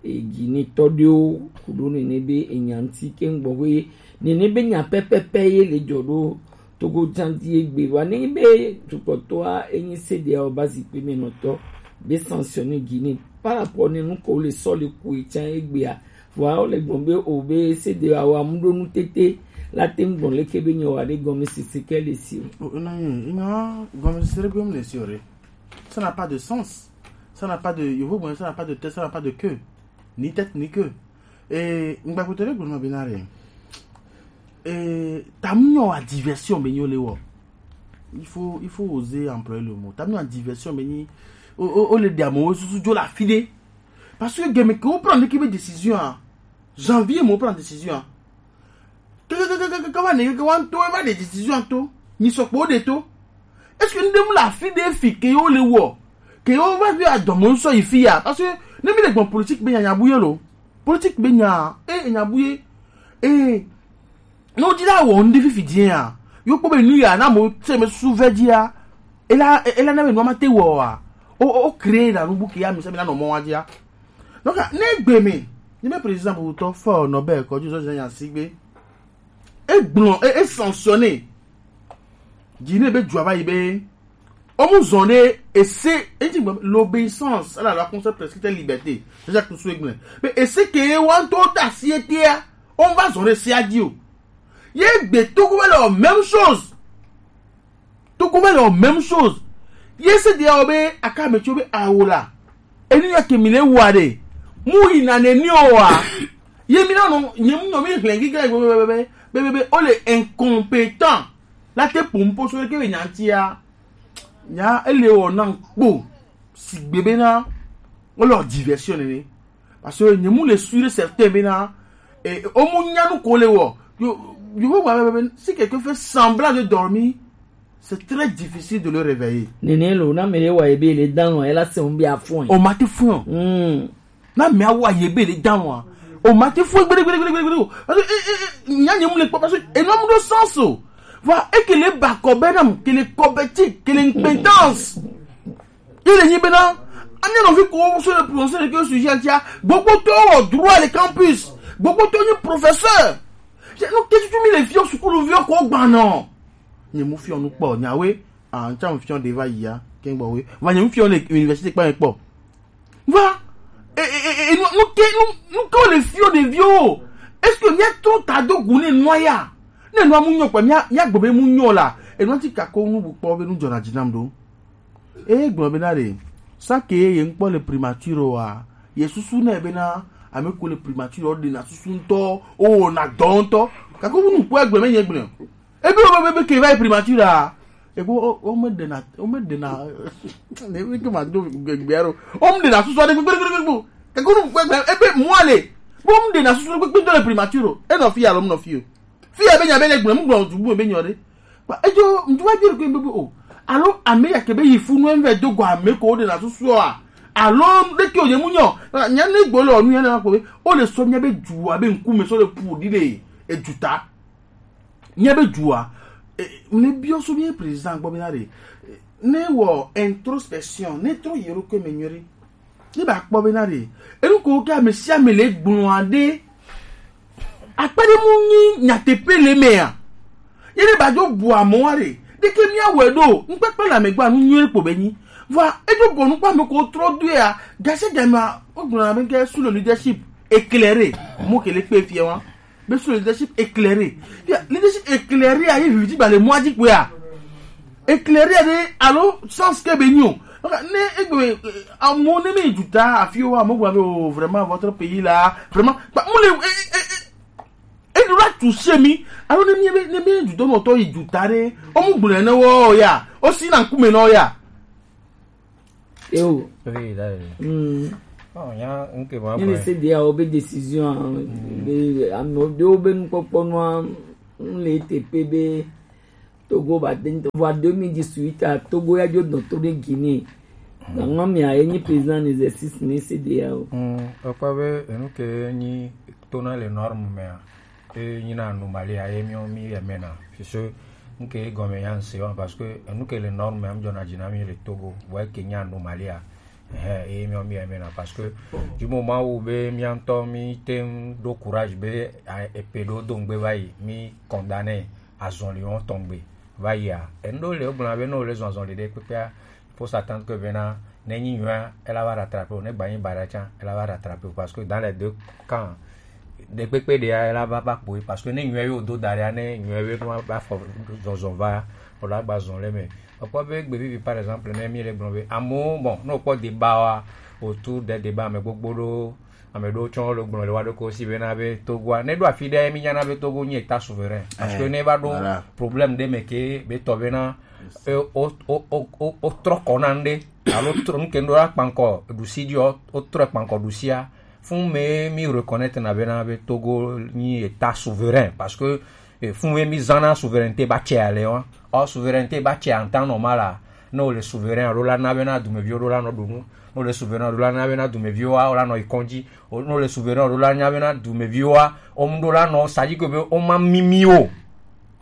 E Guinée tɔ ɖewo ku ɖo nene be enya ŋti ke ŋgbɔ be nene be nya pɛpɛpɛ ye le dzɔ ɖo Togo dzadzi egbe. Vɔa ne be dukɔtɔa enyi C D A O ba zikpe me nɔtɔ be sanctionné Guinée par rapport ne nu ko le sɔ le ku e tsan egbea. Vɔa wo le gbɔn be o be C D A O amu ɖo nu tete la te ŋgbɔn leke be nyɔ wa ɖe gɔme sisi ke le si o. O, na ye, ina gɔme sisi ɖe gbe mu le si o ɖe. Ça n'a pas de sens. Ça n'a pas de, yovo gblɔ, ça n'a pas de tête, ça n'a pas de queue. Ni tête, ni queue. Et ŋgbakpotɔ ɖe gblɔ nɔ be na ɖe. Et tamu nyɔ wa diversion be nyɔ le wɔ. Il faut, il faut oser employer le mot. Tamu nyɔ wa diversion be nyi. O, o, o le ɖe amewo susu dzo le afi ɖe. Parce que game ke wo prend ki be décision a. Janvier mo prend décision a. Kaka ne ke wa to va de décision to. Mi sɔ kpo de to. Est-ce que nous devons la fi de fi ke yo le wo? Ke yo va vi a domo so ifi ya. Parce que ne mi le bon politique be nya nya buye lo. Politique be nya e nya buye. E no di la wo ndi fifi dia. Yo kpo be nu ya na mo se me su ve dia. E la e la na be no ma te wo a. O o créer la nu bu ke ya mi se me na no mo wa dia. Donc, ne gbe me, ni me président bu to fo no be ko ju so ya sigbe. E gblɔ, e, e sanctionné. Dzi ne be dzua va yi be. Ɔmu zɔn ɖe ese, e dzi gbe l'obéissance à la loi concept prescrite liberté. C'est ça que nous souhaitons. Mais ese ke wa to ta si etia, on va zɔn ɖe ese a dzi o. Ye gbe to ko le même chose. Togo va le même chose. Ye se dia o be aka me tso be awo la. Eni ya ke mi le wa de. Mu yi na ne ni o wa. Ye mi na no, nye mu no mi hlen gi ga be be be be be be o le incompétent. La te pum po so ke be nyantia. Nya ele o na kpo. Sigbe be na o le diversion ne. Parce que ne mu le sûr et certain be na e o mu nya nu ko le wo. Yo yo wa be be si quelqu'un fait semblant de dormir, c'est très difficile de le réveiller. Nene lo na mere wa ebe le dan wa ela se un bi afun. O ma ti fun. Mm. Na me awa ye be le dan wa. O ma ti fun gbere gbere gbere gbere. Parce que e e nya ne mu le pa parce que e no mu do sens o. Voilà, et que les bacobénam, que les cobetic, que les compétences. Il est maintenant. Ani no fi ko so le prononcer le sujet tia. Gbogbo to o droit le campus. Gbogbo to ni professeur. Je no ke tu mi le fi o sukulu vi o ko gba no. Ni mu fi o nu po nya we. Ah, ncha mu fi o de va ya. Ken gbo we. Va ni mu fi o le université pa po. Va. E e e e nu ke nu nu ke o le fi o de vi o. Est-ce que mi a to ta do gun ne no ya? Ne no mu nyo pa mi a mi a gbo be mu nyo la. E no ti ka ko nu bu po be nu jona jinam do. E gblɔ be na ɖe, sake ye ŋkpɔ le primature wa, ye susu nɛ be na ame ko le primature o ɖe na susu ŋutɔ, o na dɔ ŋutɔ. Gake wo nu kpɔ egblɔ me nye gblɔ. Ebe wo be be ke va yi primature a, ebe wo wo me ɖe na wo me ɖe na ne mi ke ma do gbegbe aro. Wo me ɖe na susu aɖe gbegbe gbegbe gbegbe. Gake wo nu kpɔ egblɔ ebe mua le. Wo me ɖe na susu gbegbe do le primature o. E nɔ fi alo me nɔ fi o. Fi ya be nya be ne gblɔ, mu gblɔ du bu be nyɔ ɖe. Ba ejo ndu wa bi ko be o. Alo ame ya ke be yi fu no enve do go ame ko de na susu a. Alo de ke o ye mu nyɔ. Nya ne gbo le onu ya na ko be. O le so nya be ju a be nku me so le pu di de. E juta. Nya be ju a. Ne biɔ so mi président gbɔ bena ɖe, ne wɔ introspection, ne trɔ yi ɖokui me nyuie ɖe, ne ba kpɔ bena ɖe, enu ko ke ame sia ame le gblɔa ɖe, akpe ɖe mu nyi nyateƒe le mea. Ye ne ba dzo bu amewo ɖe, ɖeke mía wɛ ɖo, ŋkpekpe le ame gbɔ nu nyuie kpo be nyi. Vɔa edzo bɔ nu kpɔ ame ko trɔ do ya, gase game a, o gblɔna be ke sous le leadership éclairé, mo ke le kpe fia wa. Be sous le leadership éclairé. Ya, leadership éclairé a ye vivi ba le moi di quoi. Éclairé de alo sens ke be nyo. Ne egbe amo ne me juta afio wa mo gba be o vraiment votre pays là, vraiment ba mo le e e e e do la toucher mi. Alo ne mi be ne me juta mo to yi juta de. O mo gblɔ ne wo ya. O si na nkume no ya. Eo. Oui, là. Mm. Oh, il y a un que va Ni le se dia o be décision a, be ame ɖewo be nukpɔkpɔ nua n le teƒe be Togo ba de vɔ deux mille dix-huit a Togo ya dzo dɔn to ɖe Guinée. Gangɔ mia ye nyi président en exercice ni se dia o. Mm, ọkpɔ be enu ke nyi tona le norme mea e nyina anomalie a ye miɔ mi yɛ mena. Fiso nke gɔme ya nse wa parce que enu ke le norme am jɔna dzi na mi le Togo vɔ eke nya anomalie a ehe eye miɔ mi yɛ mena parce que du moment où be mia ŋutɔ mi te ŋu ɖo courage be a- epe ɖo do ŋgbe va yi mi condamné azɔli wɔn tɔn gbe va yi a enu ɖewo le egblɔna be ne wòle zɔn azɔli ɖe kpekpea faut s'attendre que bena ne nyi nyuia ela va rattraper o ne gba nyi baɖa tsã ela va rattraper o parce que dans les deux camps ɖekpekpe ɖea ela va va kpoe parce que ne nyuia yo do da ɖea ne nyuia yo no va fɔ zɔzɔ va o la gba zɔn le me. Ekpɔ be gbe vivi par exemple ne mi le gblɔ be amewo bon ne wokpɔ débat wa autour des débats ame gbogbo ɖo ame ɖewo tsɔ le gblɔ le wa ɖo ko si bena be Togoa ne ɖo afi ɖe mi nyana be Togo nyi état souverain parce que ne va ɖo problème ɖe me ke be tɔ bena e, o o o o o trɔ kɔ na ŋɖe alo trɔ nu ke ŋɖo la kpankɔ ɖusi ɖi o o trɔ kpankɔ ɖusia fún me mi reconnaître na bena be Togo nyi état souverain parce que e, fún me mi zana souveraineté ba tsɛ ale wa or souveraineté ba tsɛ en temps normal a ne o le souverain alo la na bena dumeviwo ɖo la nɔ ɖu nu ne o le souverain alo la na bena dumeviwo wa o la nɔ yi kɔndzi ne o le souverain alo la na bena dumeviwo wa o mu ɖo la nɔ sadzi ke be o ma mimi o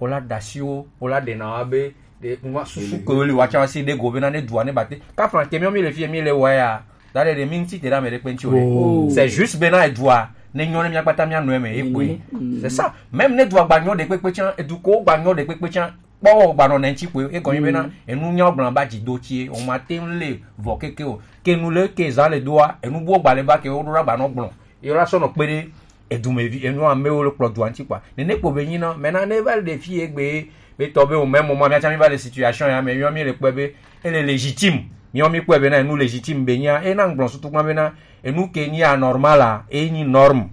o la dasi wo o la ɖena wa be ɖe ŋua susu ke wo li wa tsa wa si ɖe go bena ne dua ne ba te kafla ke miɔ mi le fi mi le wa ya da ɖe ɖe mi ŋuti te ɖe ame ɖe kpe ŋuti o ɖe c'est juste bena edua ne nyɔ ne mia kpata mia nɔ eme ye koe c'est ça même ne dua gba nyɔ ɖe kpekpe tsa edu ko gba nyɔ ɖe kpekpe tsa kpɔ gba nɔ ne ŋuti koe egɔnye bena enu nyawo gblɔ ba dzi do tsi o ma te ŋu le vɔ keke o ke nu le ke zã le doa enu buwo gba le ba ke wo ɖo la gba nɔ gblɔ ye la sɔ nɔ kpe ɖe edumevi enu amewo le kplɔ dua ŋuti kpa nene kpo be nyi na mɛ na ne va le ɖe fi egbe be tɔ be o mɛ mo ma mia tsa mi va le situation ya me yɔ mi le kpɛ be ele légitime miɔ mi kpɛ be na enu légitime be nya e na ŋgblɔ sutu kpa be na enu ke nyi anormal a e nyi norme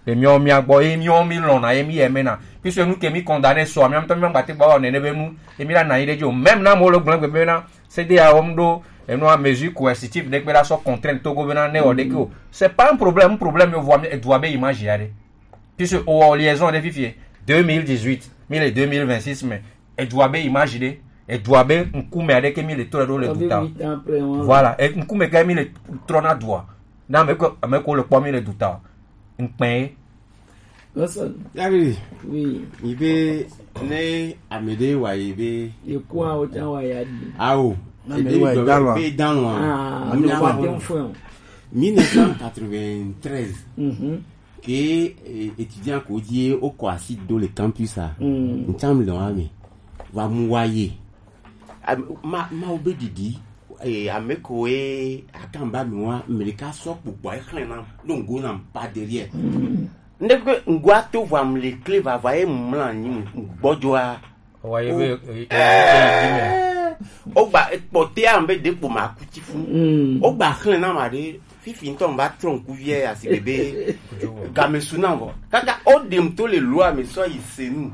le miɔ mia gbɔ e miɔ mi lɔna e mi yɛ mɛ na puisque enu ke mi condamné sɔ miɔ mi tɔ mi ma gba te gba wɔ nene be nu e mi la na yi ɖe dzi o même na mo le gblɔ gbe be na C D A wɔm ɖo enu a mesure coercitive ɖe kpe la sɔ contrainte Togo bena ne wɔ ɖeke o c'est pas un problème un problème yo vɔ edua be image ya ɖe puisque o wɔ liaison ɖe fifie deux mille dix-huit mi le deux mille vingt-six me edua be image ɖe edua be ŋkume aɖe ke mi le trɔ ɖo le duta o voilà e ŋkume ke mi le trɔ na dua na ame ko ame ko le kpɔ mi le duta o ŋkpɛ Listen, Yari, oui. Ibe ne amede wa ibe. Ye kuwa o tan wa ya di. Awo. Amede wa dan wa. Be dan wa. Ah, no wa tem fun. mille neuf cent quatre-vingt-treize Mhm. ke eh, étudiant ko die o ko asi do le campus a. Ntam le wa mi. Wa mu wa ye. Am- Ma ma o be didi. Eh, ame ko e akamba mi wa Amerika so pupo e hlen na. Lo ngo na pa derrière. Ndeke ngwa to vwa mle kle vava e mla nyi gbɔdzoa. Wa ye be e e e e O gba kpɔte a be de kpo ma kuti fu. Mm. O gba xlẽ na ma ɖe fifi ŋutɔ va trɔ ŋku vie asi bebe game su na vɔ kaka o ɖem to le loa me sɔ yi se nu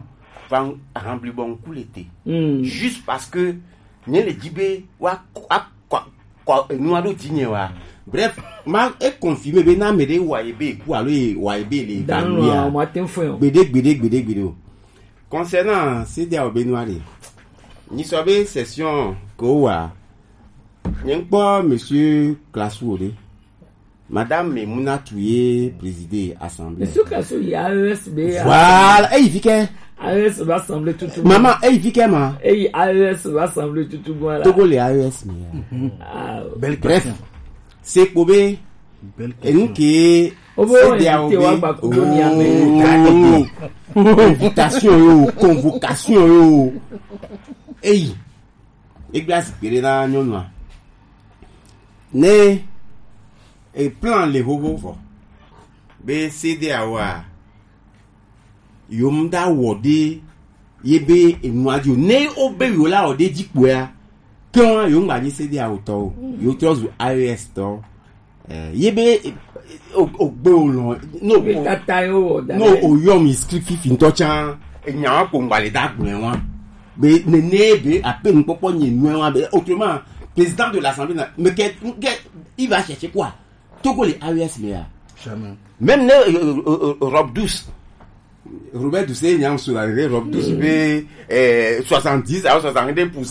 va rambli bɔ ŋku le te. Mm. Juste parce que nye le dzi be wa akɔ akɔ enua ɖo dzi nye wa. Bref, ma e confirmer be na ame ɖe wa ye be ku alo ye wa ye be le Dan evanouir wa a. o ma tem fun. Gbeɖe gbeɖe gbeɖe gbeɖe o. Concernant C D A O be nua ɖe, nyi sɔ be session ke wowa, nye ŋkpɔ monsieur Classou ɖe, madame Memunatu ye présider assemblée. Suka so ya S B A. Voilà, eyi fi ke. A E S va sembler tout tout. Maman, eyi vi kɛ ma? Eyi A E S va sembler tout tout bon là. Togo le A E S mi ya. Ah, belle question. Bref, c'est pour be. Belle question. Enu ke o bo invité wa gba kudo ni ame. Invitation yo, convocation yo. Eyi. Egbe asi kpe ɖe na nyɔnua. Ne e plan le xoxo vɔ be C D A O a, yo mu da wɔ ɖe ye be enua dzi o. Ne wo be yo la wɔ ɖe dzi kpoa, ke wa yo ŋgba nyi C D A O tɔ o. Yo trɔ zu A E S tɔ. Eh, ye be, eh, o, o gbe o lɔ, no, o, tata ye wo da no, o yɔ mi script fifi ŋutɔ tsa, enya wa ko ŋgba le da gblɔe wa. Be nene be ape nukpɔkpɔ nye nue wa be, autrement, président de l'Assemblée na, mais que, que, il va chercher quoi? Togo le A E S mais ya. Jamais. Même ne, euh, euh, euh, robe douce. Robert Doucet, il y a un sur la robe douce, mais, euh, soixante-dix à soixante-deux pour cent.